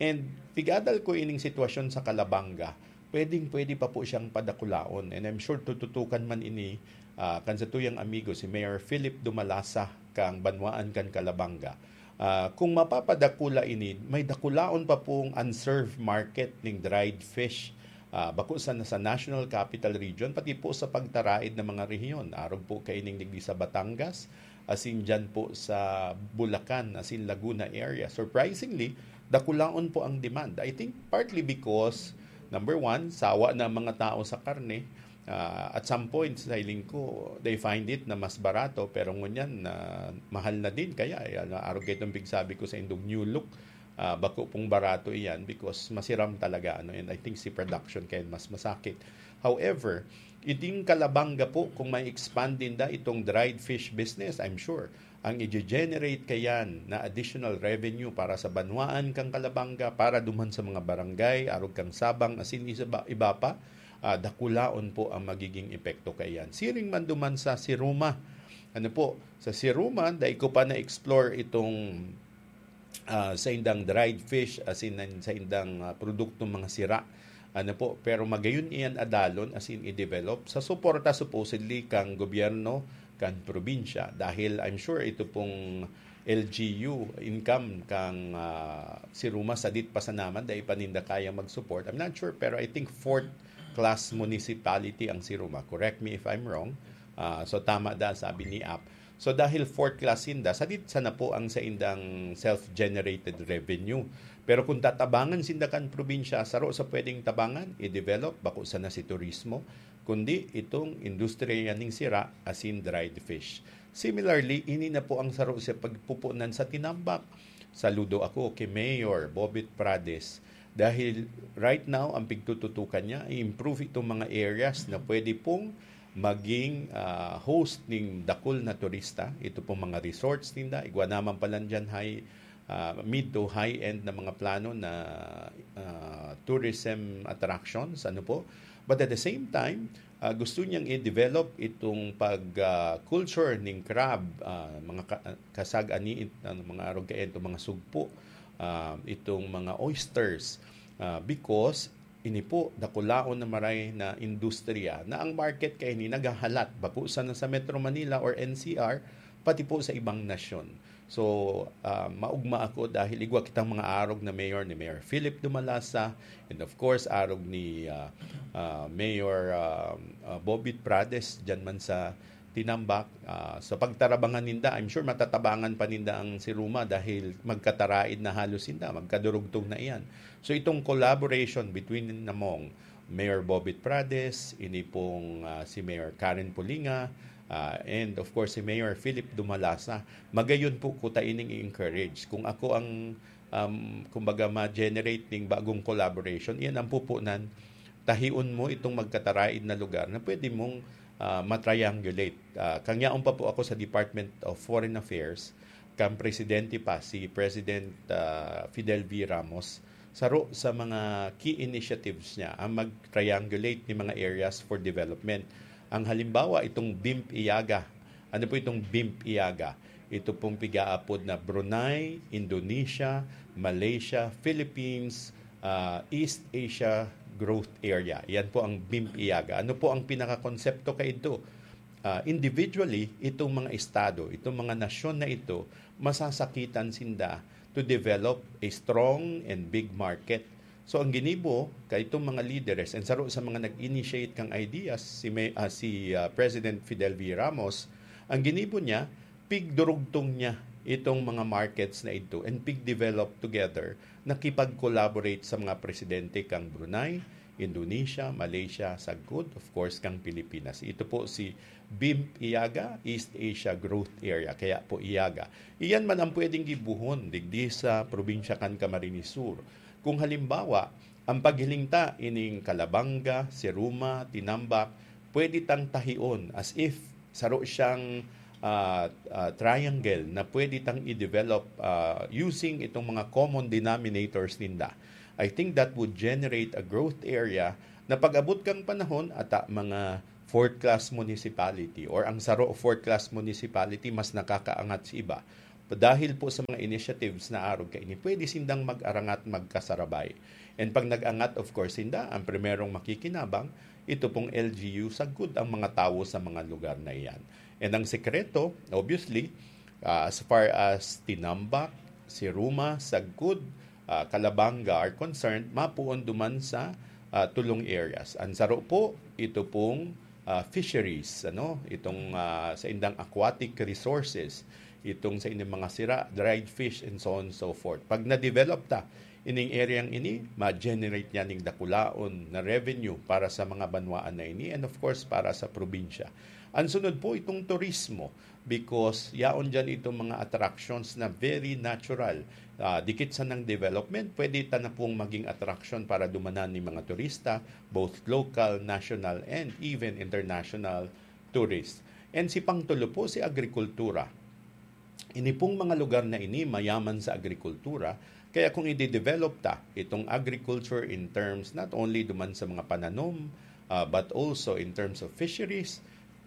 And pigadal ko ining sitwasyon sa Calabanga, pwedeng-pwede pa po siyang padakulaon. And I'm sure tututukan man ini, ah, kan satuyang amigo, si Mayor Philip Dumalasa, kang banwaan kan Calabanga. Ah, kung mapapadakula ini, may dakulaon pa pong unserved market ning dried fish. Ah, bako sa, sa National Capital Region, pati po sa pagtaraid na mga rehiyon. Arog po kaining digdi sa Batangas, asin dyan po sa Bulacan, asin Laguna area. Surprisingly, dakulaon po ang demand. I think partly because, number one, sawa na ang mga tao sa karne. Ah, at some point, sa hiling ko, they find it na mas barato, pero ngunyan, ah, mahal na din. Kaya, eh, ano, arog itong bigsabi ko sa indong new look, ah, bako pong barato iyan because masiram talaga, ano, and I think si production kaya mas masakit. However, iting Calabanga po, kung may expand din da itong dried fish business, I'm sure, ang i-generate kayan na additional revenue para sa banwaan kang Calabanga, para duman sa mga barangay, arog kang Sabang, asin isa ba, iba pa, ah, dakulaon po ang magiging epekto kayan. Siring man duman sa Siruma. Ano po, sa Siruma, dai ko pa na-explore itong, ah, sa indang dried fish, asin sa indang, ah, produktong mga sira. Ano po, pero magayon iyan adalon, asin i-develop sa suporta supposedly kang gobyerno, kan probinsya. Dahil I'm sure ito pong L G U income kang, ah, Siruma sadit pa sana man, dai pa ninda kayang mag-support. I'm not sure, pero I think fourth class municipality ang Siruma. Correct me if I'm wrong. Ah, so tama da, sabi ni Ap. So dahil fourth class sinda, sadit sana po ang saindang self-generated revenue. Pero kung tatabangan sinda kan probinsya, saro sa pwedeng tabangan, i-develop, bako sana si turismo, kundi itong industriya ning sira, asin dried fish. Similarly, ini na po ang saro sa pagpupunan sa tinambak. Saludo ako kay Mayor Bobit Prades dahil right now, ang pigtututukan niya, i-improve itong mga areas na pwede pong maging, ah, host ning dakul na turista. Ito pong mga resorts ninda, igwa naman pala dyan high, ah, mid to high-end na mga plano na, ah, tourism attractions, ano po. But at the same time, ah, gusto niyang i-develop itong pag, ah, culture ning crab, ah, mga ka-, kasag-ani, ano, mga arog kayan, itong mga sugpo, ah, itong mga oysters, ah, because ini po, dakulaon na maray na industriya na ang market kaini naghahalat, bako sana sa Metro Manila or N C R, pati po sa ibang nasyon. So, ah, maugma ako dahil igwa kitang mga arog na mayor ni Mayor Philip Dumalasa and of course, arog ni, ah, ah, Mayor, ah, ah, Bobit Prades, dyan man sa Tinambak. Ah, sa pagtarabangan ninda, I'm sure matatabangan pa ninda ang Siruma dahil magkataraid na halos sinda, magkadurugtong na iyan. So, itong collaboration between namong Mayor Bobit Prades, ini pong, ah, si Mayor Karen Pulinga, ah, and of course, si Mayor Philip Dumalasa, magayon po kuta ining i-encourage. Kung ako ang, um, kumbaga, ma-generate ning bagong collaboration, iyan ang pupunan, tahion mo itong magkataraid na lugar na pwede mong, ah, matriangulate. Ah, kangyaon pa po ako sa Department of Foreign Affairs, kang presidente pa, si President, ah, Fidel V. Ramos, saro sa mga key initiatives niya ang mag-triangulate ni mga areas for development. Ang halimbawa, itong BIMP Iaga. Ano po itong BIMP Iaga? Ito pong pigaapod na Brunei, Indonesia, Malaysia, Philippines, ah, East Asia Growth Area. Yan po ang BIMP Iaga. Ano po ang pinakakonsepto kaidto? Ah, individually, itong mga estado, itong mga nasyon na ito, masasakitan sinda to develop a strong and big market. So, ang ginibo kaitong mga lideres, and saro sa mga nag-initiate kang ideas, si, May, ah, si, ah, President Fidel V. Ramos, ang ginibo niya, pigdurugtong niya itong mga markets na ito and pig-develop together, nakipag-collaborate sa mga presidente kang Brunei, Indonesia, Malaysia, sagkod, of course, kang Pilipinas. Ito po si BIMP IAGA, East Asia Growth Area, kaya po IAGA. Iyan man ang pwedeng gibuhon digdi sa probinsya kan Camarines Sur. Kung halimbawa, ang paghiling ta ining Calabanga, Siruma, Tinambac, pwede tang tahion as if saro siyang, ah, ah, triangle na pwede tang i-develop, ah, using itong mga common denominators ninda. I think that would generate a growth area na pag-abot kang panahon, ata mga fourth class municipality or ang saro fourth class municipality mas nakakaangat sa iba. Dahil po sa mga initiatives na arog kaini, pwede sindang mag-arangat, magkasarabay. And pag nag-angat, of course, sinda, ang primerong makikinabang, ito pong L G U, sagkod ang mga tawo sa mga lugar na iyan. And ang sekreto, obviously, ah, as far as Tinambac, Siruma, sagkod, ah, Calabanga are concerned, mapuon duman sa, ah, tulong areas. Ang saro po, ito pong, ah, fisheries, ano, itong, ah, sa indang aquatic resources, itong sa indang mga sira, dried fish, and so on and so forth. Pag na-develop ta, ining area ini, ma-generate niya ning dakulaon na revenue para sa mga banwaan na ini and of course para sa probinsya. Ang sunod po itong turismo because yaon dyan itong mga attractions na very natural. Ah, dikit sa nang development, pwede ta na pong maging attraction para dumanan ni mga turista, both local, national, and even international tourists. And si pangtulo po, si agrikultura. Ini pong mga lugar na ini mayaman sa agrikultura, kaya kung i-develop ta itong agriculture in terms not only duman sa mga pananom, ah, but also in terms of fisheries,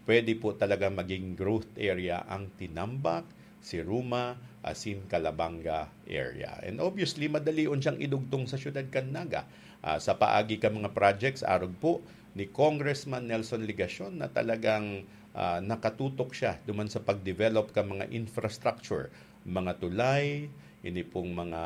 pwede po talaga maging growth area ang Tinambac, Siruma, asin Calabanga area. And obviously, madalion siyang idugtong sa siyudad kan Naga. Ah, sa paagi kan mga projects, arog po ni Congressman Nelson Legacion na talagang, ah, nakatutok siya duman sa pag-develop kan mga infrastructure, mga tulay, ini pong mga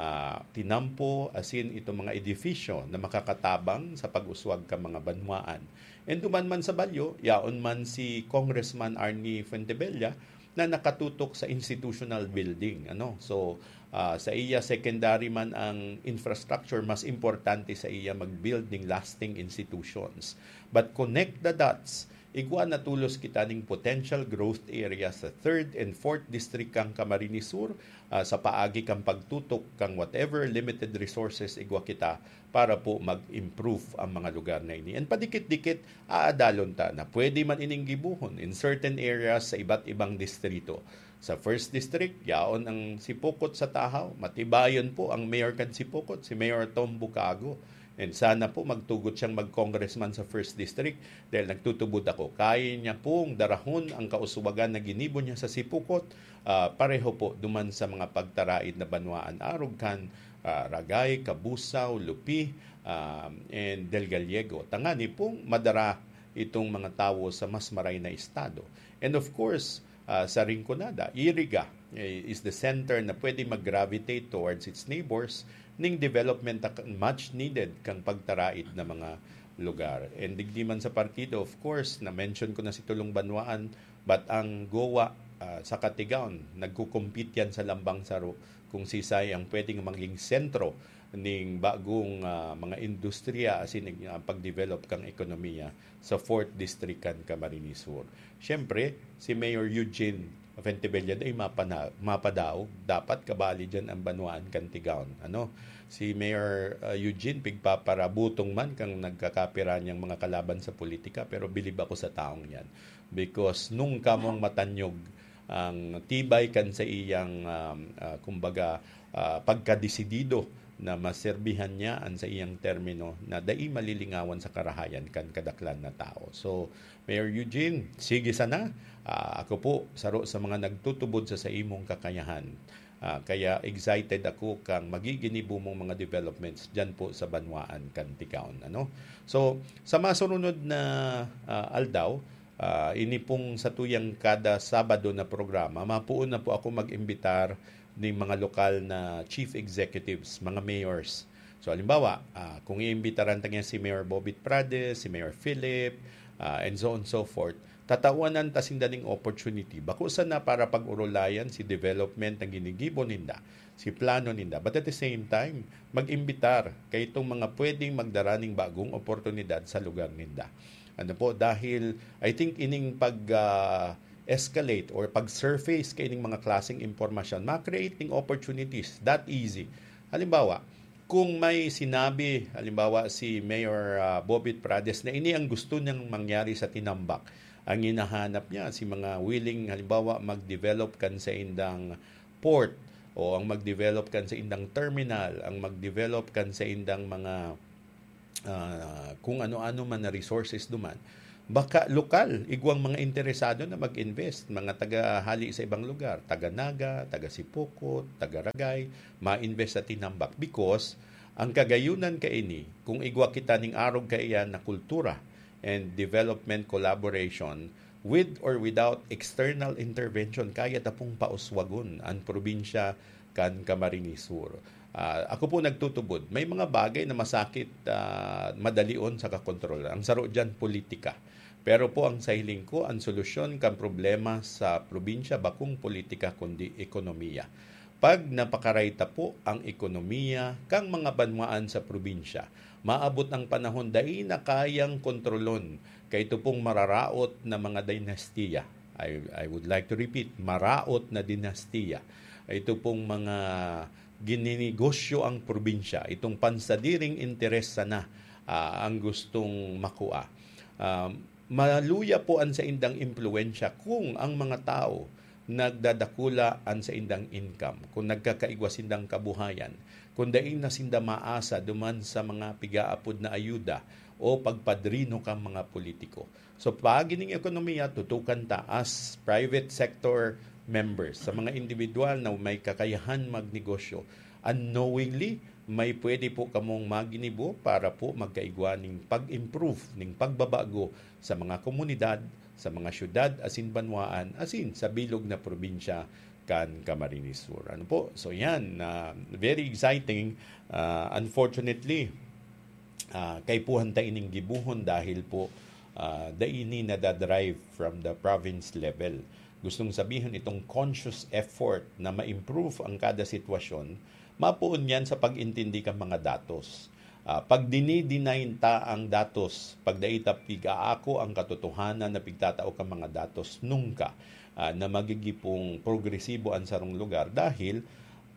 tinampo, asin itong mga edifisyo na makakatabang sa pag-uswag kan mga banwaan. And duman man sa Balyo, yaon man si Congressman Arnie Fuentebella na nakatutok sa institutional building, ano. So, ah, sa iya secondary man ang infrastructure, mas importante sa iya mag-build ning lasting institutions. But connect the dots, igwa na tolos kita ning potential growth area sa third and fourth district kan Camarines Sur, ah, sa paagi kan pagtutok kan whatever limited resources igwa kita para po mag-improve ang mga lugar na ini. And padikit-dikit, aadalon ta na pwede man ining gibuhon in certain areas sa iba't ibang distrito. Sa first district, yaon ang Sipocot sa Tahaw. Matibayon po ang mayor kan Sipocot, si Mayor Tom Bucago. And sana po magtugot siyang mag-congressman sa first district dahil nagtutubod ako. Kaya niya pong darahon ang kauswagan na ginibo niya sa Sipocot, ah, pareho po duman sa mga pagtaraid na banwaan, arog kan, ah, Ragay, Cabusao, Lupi, ah, and Del Gallego. Tangani pong madara itong mga tawo sa mas maray na estado. And of course, ah, sa Rinconada, Iriga, eh, is the center na pwede mag-gravitate towards its neighbors ning development na much needed kang pagtaraid na mga lugar. And digdi man sa partido, of course, na-mention ko na si Tulong Banwaan, but ang Goa, ah, sa Katigaon, nagko-compete yan sa lambang saro kung sisay ang pwedeng maging sentro ning bagong, ah, mga industriya asin, ah, pag-develop kang ekonomiya sa fourth District kan Camarines Sur. Siyempre, si Mayor Eugene Fuentebella ay mapana-, mapadaog, dapat kabali diyan ang banwaan kan Tigaon. Ano? Si Mayor, ah, Eugene, pigpaparabutong man kang nagkakapira niyang mga kalaban sa politika, pero bilib ako sa taong yan. Because nung kamong matanyog ang tibay kan sa iyang, um, ah, kumbaga, ah, pagkadesidido na maserbihan niya an saiyang termino na dai malilingawan sa karahayan kan kadaklan na tao. So, Mayor Eugene, sige sana. Ah, ako po, saro sa mga nagtutubod sa, sa imong kakayahan. Ah, kaya excited ako kang magiginibo mong mga developments dyan po sa banwaan kan Tigaon, ano? So, sa masunod na, ah, aldaw, ah, ini pong satuyang kada Sabado na programa, mapuon na po ako mag-imbitar ning mga lokal na chief executives, mga mayors. So, halimbawa, ah, kung iimbitaran ta niya si Mayor Bobit Prades, si Mayor Philip, ah, and so on and so forth, Tatawanan ta sinda ning opportunity. Bako sana para pag-orolayan si development na ginigibo ninda, si plano ninda. But at the same time, mag-imbitar kay itong mga pwedeng magdara ning bagong oportunidad sa lugar ninda. Ano po, dahil I think ining pag, ah, escalate or pag-surface kay ining mga klaseng impormasyon, ma-create ning opportunities that easy. Halimbawa, kung may sinabi, halimbawa, si Mayor, ah, Bobit Prades na ini ang gusto niyang mangyari sa Tinambac, ang hinahanap niya, si mga willing, halimbawa, mag-develop kan sa indang port, o ang mag-develop kan sa indang terminal, ang mag-develop kan sa indang mga, ah, kung ano-ano man na resources duman. Baka lokal, igwang mga interesado na mag-invest, mga taga hali sa ibang lugar, taga Naga, taga Sipocot, taga Ragay, ma-invest sa Tinambac. Because ang kagayunan kaini, kung igwa kita ning arog kaiyan na kultura and development collaboration, with or without external intervention, kaya ta pong pauswagon ang probinsya kan Camarines Sur. Ah, ako po nagtutubod, may mga bagay na masakit, ah, madalion sa kakontrol. Ang saro diyan, politika. Pero po ang sa hiling ko, ang solusyon kan problema sa probinsya bakong politika kundi ekonomiya. Pag napakaray ta po ang ekonomiya kan mga banwaan sa probinsya, maabot ang panahon dai na kayang kontrolon kay ito pong mararaot na mga dinastiya. I, I would like to repeat, maraot na dinastiya. Ito pong mga gininegosyo ang probinsya, itong pansadiring interes sana, ah, ang gustong makua. Ah, maluya po ang saindang impluwensya kung ang mga tao nagdadakula an saindang income, kung nagkakaigwa sindang kabuhayan, kung dai na sinda maasa duman sa mga pigaapod na ayuda o pagpadrino kan mga politiko. So, paagi ning ekonomiya, tutukan ta as private sector members, sa mga individual na may kakayahan magnegosyo, unknowingly, may pwede po kamong maginibo para po magkaigwa ning pag-improve, ning pagbabago sa mga komunidad, sa mga syudad asin banwaan, asin sa bilog na probinsya kan Camarines Sur. Ano po? So yan, ah, very exciting. Ah, unfortunately, ah, kaipuhan ta ining gibohon dahil po, ah, dai ini nadadrive from the province level. Gustong sabihon, itong conscious effort na ma-improve ang kada sitwasyon, mapoon yan sa pag-intindi kan mga datos. Ah, pag dinidinayin ta ang datos, pag dai ta pig-aako ang katotohanan na pigtatao kan mga datos, nungka, ah, na magigipong progresibo an sarong lugar dahil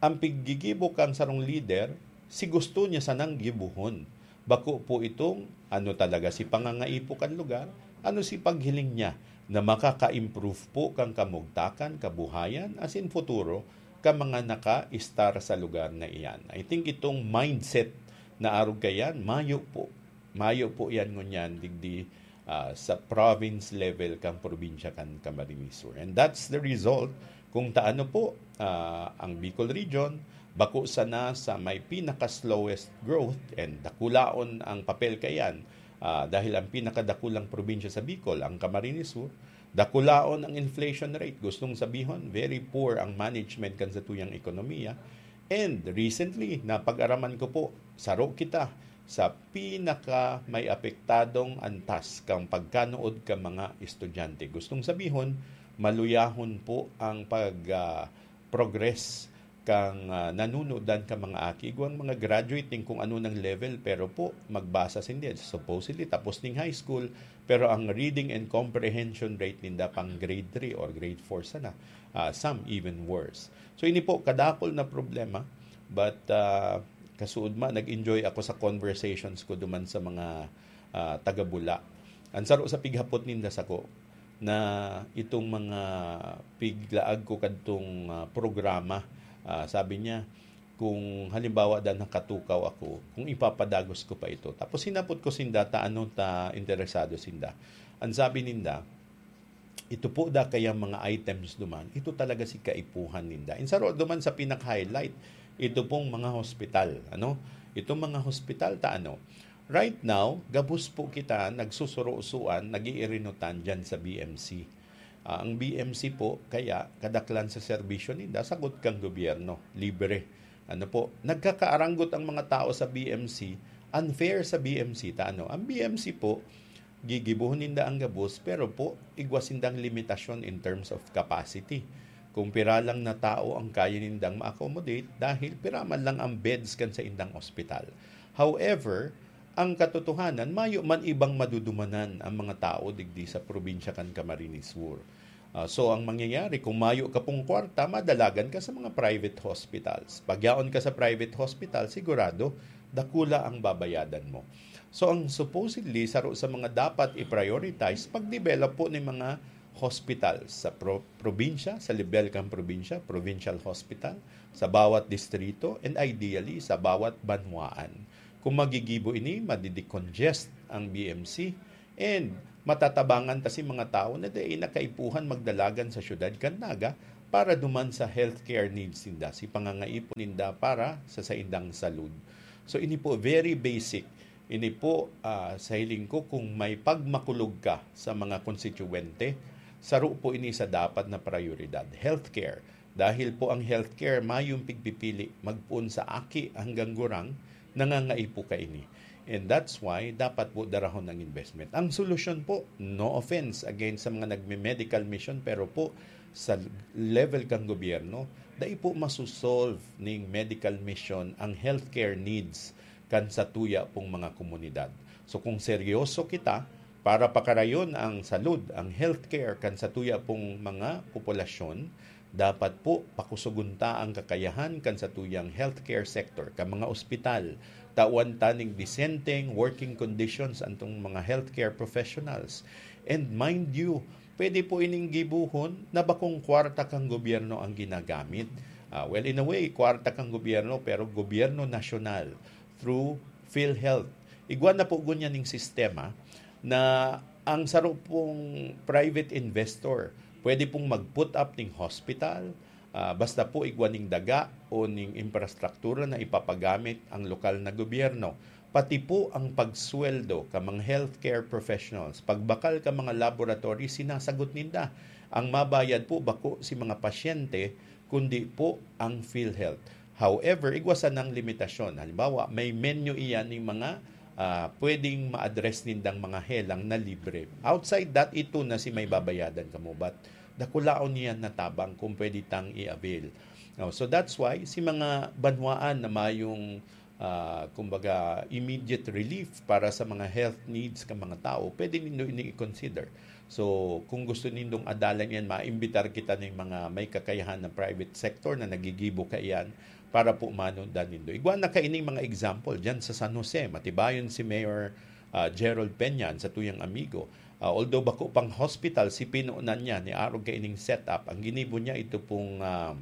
ang piggigibo kan sarong lider, si gusto niya sanang gibohon. Bako po itong ano talaga si pangangaipo kan lugar, ano si paghiling niya na makaka-improve po kan kamugtakan, kabuhayan, asin futuro kan mga naka-estar sa lugar na iyan. I think itong mindset na arog kaiyan, mayo po. Mayo po yan ngunyan digdi, ah, sa province level kan probinsya kan Camarines Sur. And that's the result kung taano po, ah, ang Bicol Region, bako sana sa may pinaka-slowest growth and dakulaon ang papel kaiyan, ah, dahil ang pinakadakulang probinsya sa Bicol, ang Camarines Sur, dakulaon ang inflation rate. Gustong sabihon, very poor ang management kan satuyang ekonomiya. And recently, napag-araman ko po, saro kita sa pinaka may apektadong antas kan pagkanuod kan mga estudyante. Gustong sabihon, maluyahon po ang pag, ah, progress kan, ah, nanunudan kan mga aki. Igwang mga graduate nin kung ano nang level, pero po, magbasa sindi. Supposedly, tapos ning high school, pero ang reading and comprehension rate ninda pang grade three or grade four sana. Ah, some even worse. So, ini po, kadakol na problema. But, ah, kasuodma, nag-enjoy ako sa conversations ko duman sa mga, ah, taga-Bula. Ang saro sa pighapot ninda sako, na itong mga piglaag ko kadtong, ah, programa, ah, sabi niya, kung halimbawa dan nakatukaw ako, kung ipapadagos ko pa ito. Tapos hinapot ko sinda ta ano ta interesado sinda. Ang sabi ninda, ito po da kayang mga items duman, ito talaga si kaipuhan ninda. Insaro duman sa pinaka-highlight, ito pong mga hospital, ano? Itong mga hospital ta ano? Right now, gabos po kita nagsusuro-suan, nag-iirinutan diyan sa B M C. Ah, ang B M C po, kaya kadaklan sa serbisyo ninda, sagot kang gobyerno, libre. Ano po, nagkakaaranggot ang mga tao sa B M C, unfair sa B M C ta ano? Ang B M C po, gigibohon ninda ang gabos, pero po, igwa sindang limitasyon in terms of capacity. Kung pira lang na tao ang kaya nindang ma-accommodate, dahil pira man lang ang beds kan sa indang ospital. However, ang katotohanan, mayo man ibang madudumanan ang mga tao digdi sa probinsya kan Camarines Sur. Ah, so, ang mangyayari, kung mayo ka pong kwarta, madalagan ka sa mga private hospitals. Pag yaon ka sa private hospital, sigurado, dakula ang babayadan mo. So, ang supposedly, saro sa mga dapat i-prioritize, pag-develop po ng mga hospital sa pro- probinsya, sa level kan probinsya, provincial hospital, sa bawat distrito, and ideally, sa bawat banwaan. Kung magigibo ini, madidecongest ang B M C, and matatabangan ta si mga tawo na dai na kaipuhan magdalagan sa syudad kan Naga para duman sa healthcare needs ninda, si pangangaipon ninda para sa saindang salud. So, ini po very basic. Ini po, ah, sa hiling ko, kung may pagmakulog ka sa mga konstituwente, saro po ini sa dapat na prioridad, healthcare. Dahil po ang healthcare mayong pigpipili magpoon sa aki hanggang gurang, nangangaipo kaini. And that's why dapat po darahon ang investment. Ang solusyon po, no offense against sa mga nagme-medical mission, pero po sa level kang gobyerno, dai po masosolve ning medical mission ang healthcare needs kan satuya pong mga komunidad. So kung seryoso kita para pakarayon ang salud, ang healthcare kan satuya pong mga populasyon, dapat po pakusugon ta ang kakayahan kan satuyang healthcare sector, kan mga ospital. Tawan ta ning disenteng working conditions antong mga healthcare professionals. And mind you, pwede po ining gibohon na bakong kwarta kan gobyerno ang ginagamit. Ah, well, in a way, kwarta kan gobyerno, pero gobyerno nasyonal through PhilHealth. Igwa na po ngunyan ning sistema na ang saro pong private investor pwede pong mag-put up ning hospital, ah, basta po igwa ning daga o ning infrastruktura na ipapagamit ang lokal na gobyerno. Pati po ang pagsweldo ka mga healthcare professionals, pagbakal ka mga laboratory, sinasagot ninda. Ang mabayad po bako si mga pasyente, kundi po ang PhilHealth. However, igwa sanang limitasyon. Halimbawa, may menu iyan ning mga, ah, pwedeng ma-address nindang mga helang na libre. Outside that, ito na si may babayadan kamo. But dakulaon niyan na tabang kung pwede tang i-avail. Oh, so that's why si mga banwaan na mayong, ah, kumbaga, immediate relief para sa mga health needs ka mga tao, pwede nindo ini i-consider. So, kung gusto nindong adalan yan, maimbitar kita ng mga may kakayahan ng private sector na nagigibo kaiyan para po manundan nindo. Igwa na kaining mga example dyan sa San Jose. Matibayon si Mayor, ah, Gerald Peña, sa tuyang amigo. Ah, although bako pang hospital, si pinunan niya ni arog kaining setup. Ang ginibo niya, ito pong, ah,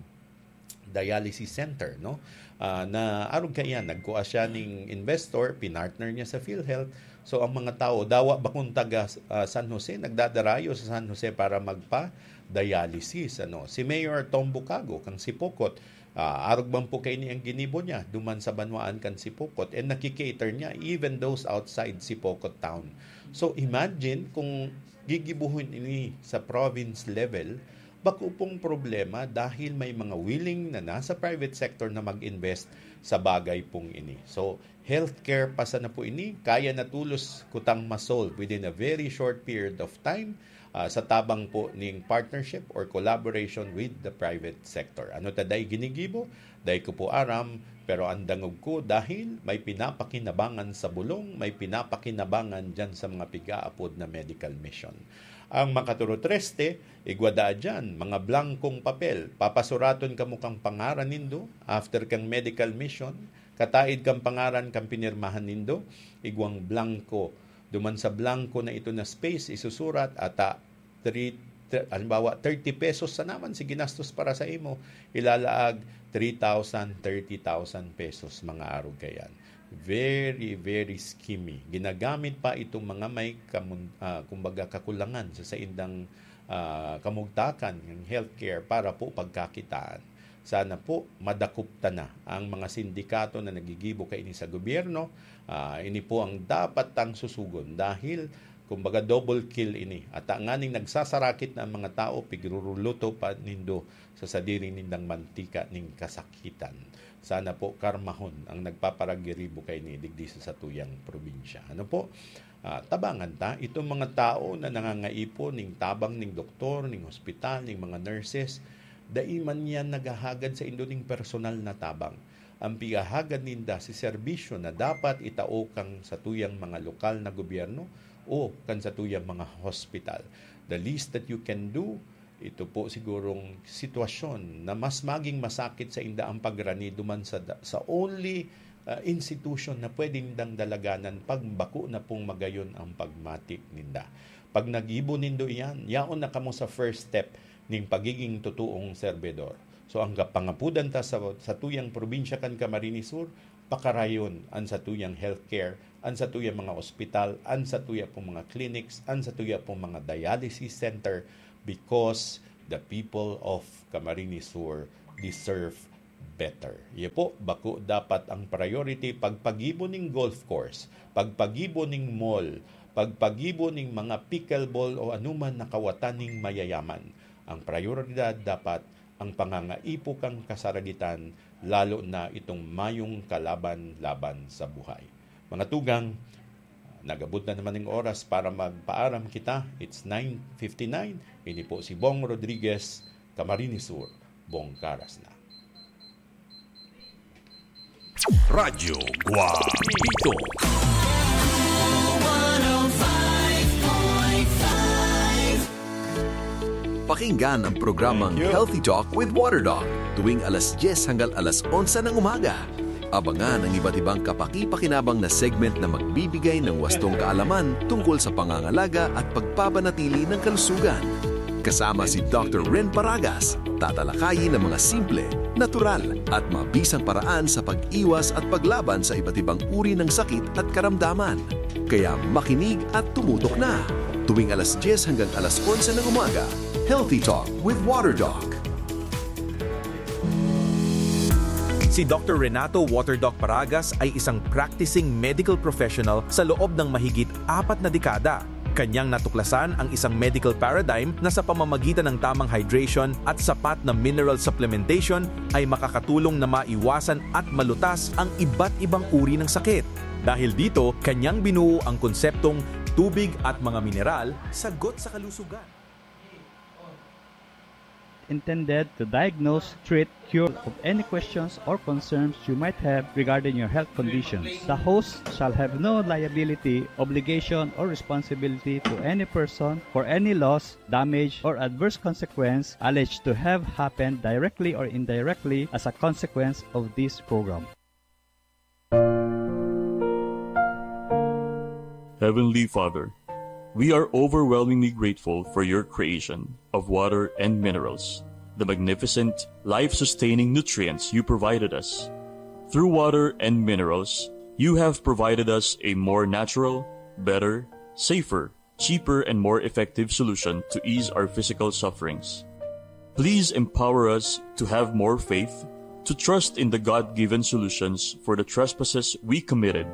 dialysis center, no? Ah, na arog kaiyan, nagkua siya ning investor, pinartner niya sa PhilHealth. So, ang mga tao, dawa bakong taga, ah, San Jose, nagdadarayo sa San Jose para magpa-dialysis, ano? Si Mayor Tom Bucago, kang Sipocot, ah, arog man po kaini ang ginibo niya, duman sa banwaan kan Sipocot, and nakikater niya even those outside Sipocot town. So, imagine kung gigibuhon ini sa province level, bako pong problema dahil may mga willing na nasa private sector na mag-invest sa bagay pong ini. So, healthcare pa sana po ini, kaya na tulos kutang ma-solve within a very short period of time, ah, sa tabang po ning partnership or collaboration with the private sector. Ano ta dai ginigibo? Dai ko po aram, pero ang dangog ko dahil may pinapakinabangan sa bulong, may pinapakinabangan dyan sa mga pigaapod na medical mission. Ang makaturotreste, igwa daa dyan, mga blankong papel. Papasuraton kamo kang pangaran nindo after kang medical mission. Kataid kang pangaran kang pinirmahan nindo, igwang blanko. Duman sa blanko na ito na space, isusurat ata three, tr- halimbawa, thirty pesos sa naman si ginastos para sa imo, ilalaag three thousand, thirty thousand pesos, mga arog kayan. Very, very schemy. Ginagamit pa itong mga may kamun-, ah, kumbaga, kakulangan sa saindang, ah, kamugtakan ng healthcare para po pagkakitaan. Sana po madakop ta na ang mga sindikato na nagigibo kaini sa gobyerno. Ah, ini po ang dapat tang susugon dahil, kumbaga, double kill ini. At nganing nagsasarakit na ang mga tao, pigruruluto pa nindo sa sadiri nindang mantika ning kasakitan. Sana po karmahon ang nagpaparagiribo kaini digdi sa satuyang probinsya. Ano po? Ah, tabangan ta itong mga tao na nangangaipo ning tabang ning doktor, ning hospital, ning mga nurses. Dai man yan naghahagad saindo ning personal na tabang. Ang pigahagad ninda si serbisyo na dapat itao kan satuyang mga lokal na gobyerno o kan satuyang mga hospital. The least that you can do, ito po sigurong sitwasyon na mas maging masakit sainda ang pagrani duman sa da-, sa only, ah, institution na pwede nindang dalaganan pag bako na pong magayon ang pagmati ninda. Pag nagibo nindo iyan, yaon na kamo sa first step ning pagiging totoong serbidor. So, ang kapangapudan ta sa, sa tuyang probinsya kan Camarines Sur, pakarayon an satuyang healthcare, an satuyang mga ospital, an satuya pong mga clinics, an satuya pong mga dialysis center, because the people of Camarines Sur deserve better. Iyo po, bako dapat ang priority pagpagibo ning golf course, pagpagibo ning mall, pagpagibo ning mga pickleball o anuman na kawatan ning mayayaman. Ang prioridad dapat ang pangangaipo kan kasaragitan, lalo na itong mayong kalaban-laban sa buhay. Mga tugang, nagabot na naman ang oras para magpaaram kita. It's nine fifty-nine. Ini po si Bong Rodriguez, Camarines Sur, Bong Karas na. Radyo Guapito. Pakinggan ang programang Thank you. Healthy Talk with Water Doc tuwing alas dyes hanggang alas onse ng umaga. Abangan ang iba't ibang kapakipakinabang na segment na magbibigay ng wastong kaalaman tungkol sa pangangalaga at pagpapanatili ng kalusugan. Kasama si Doctor Ren Paragas, tatalakayin ang mga simple, natural, at mabisang paraan sa pag-iwas at paglaban sa iba't ibang uri ng sakit at karamdaman. Kaya makinig at tumutok na. Tuwing alas dyes hanggang alas onse ng umaga, Healthy Talk with Water Doc. Si Doctor Renato Water Doc Paragas ay isang practicing medical professional sa loob ng mahigit apat na dekada. Kanyang natuklasan ang isang medical paradigm na sa pamamagitan ng tamang hydration at sapat na mineral supplementation ay makakatulong na maiwasan at malutas ang iba't ibang uri ng sakit. Dahil dito, kanyang binuo ang konseptong tubig at mga mineral, sagot sa kalusugan. Intended to diagnose, treat, cure of any questions or concerns you might have regarding your health conditions. The host shall have no liability, obligation, or responsibility to any person for any loss, damage, or adverse consequence alleged to have happened directly or indirectly as a consequence of this program. Heavenly Father, we are overwhelmingly grateful for your creation of water and minerals, the magnificent, life-sustaining nutrients you provided us. Through water and minerals, you have provided us a more natural, better, safer, cheaper, and more effective solution to ease our physical sufferings. Please empower us to have more faith, to trust in the God-given solutions for the trespasses we committed,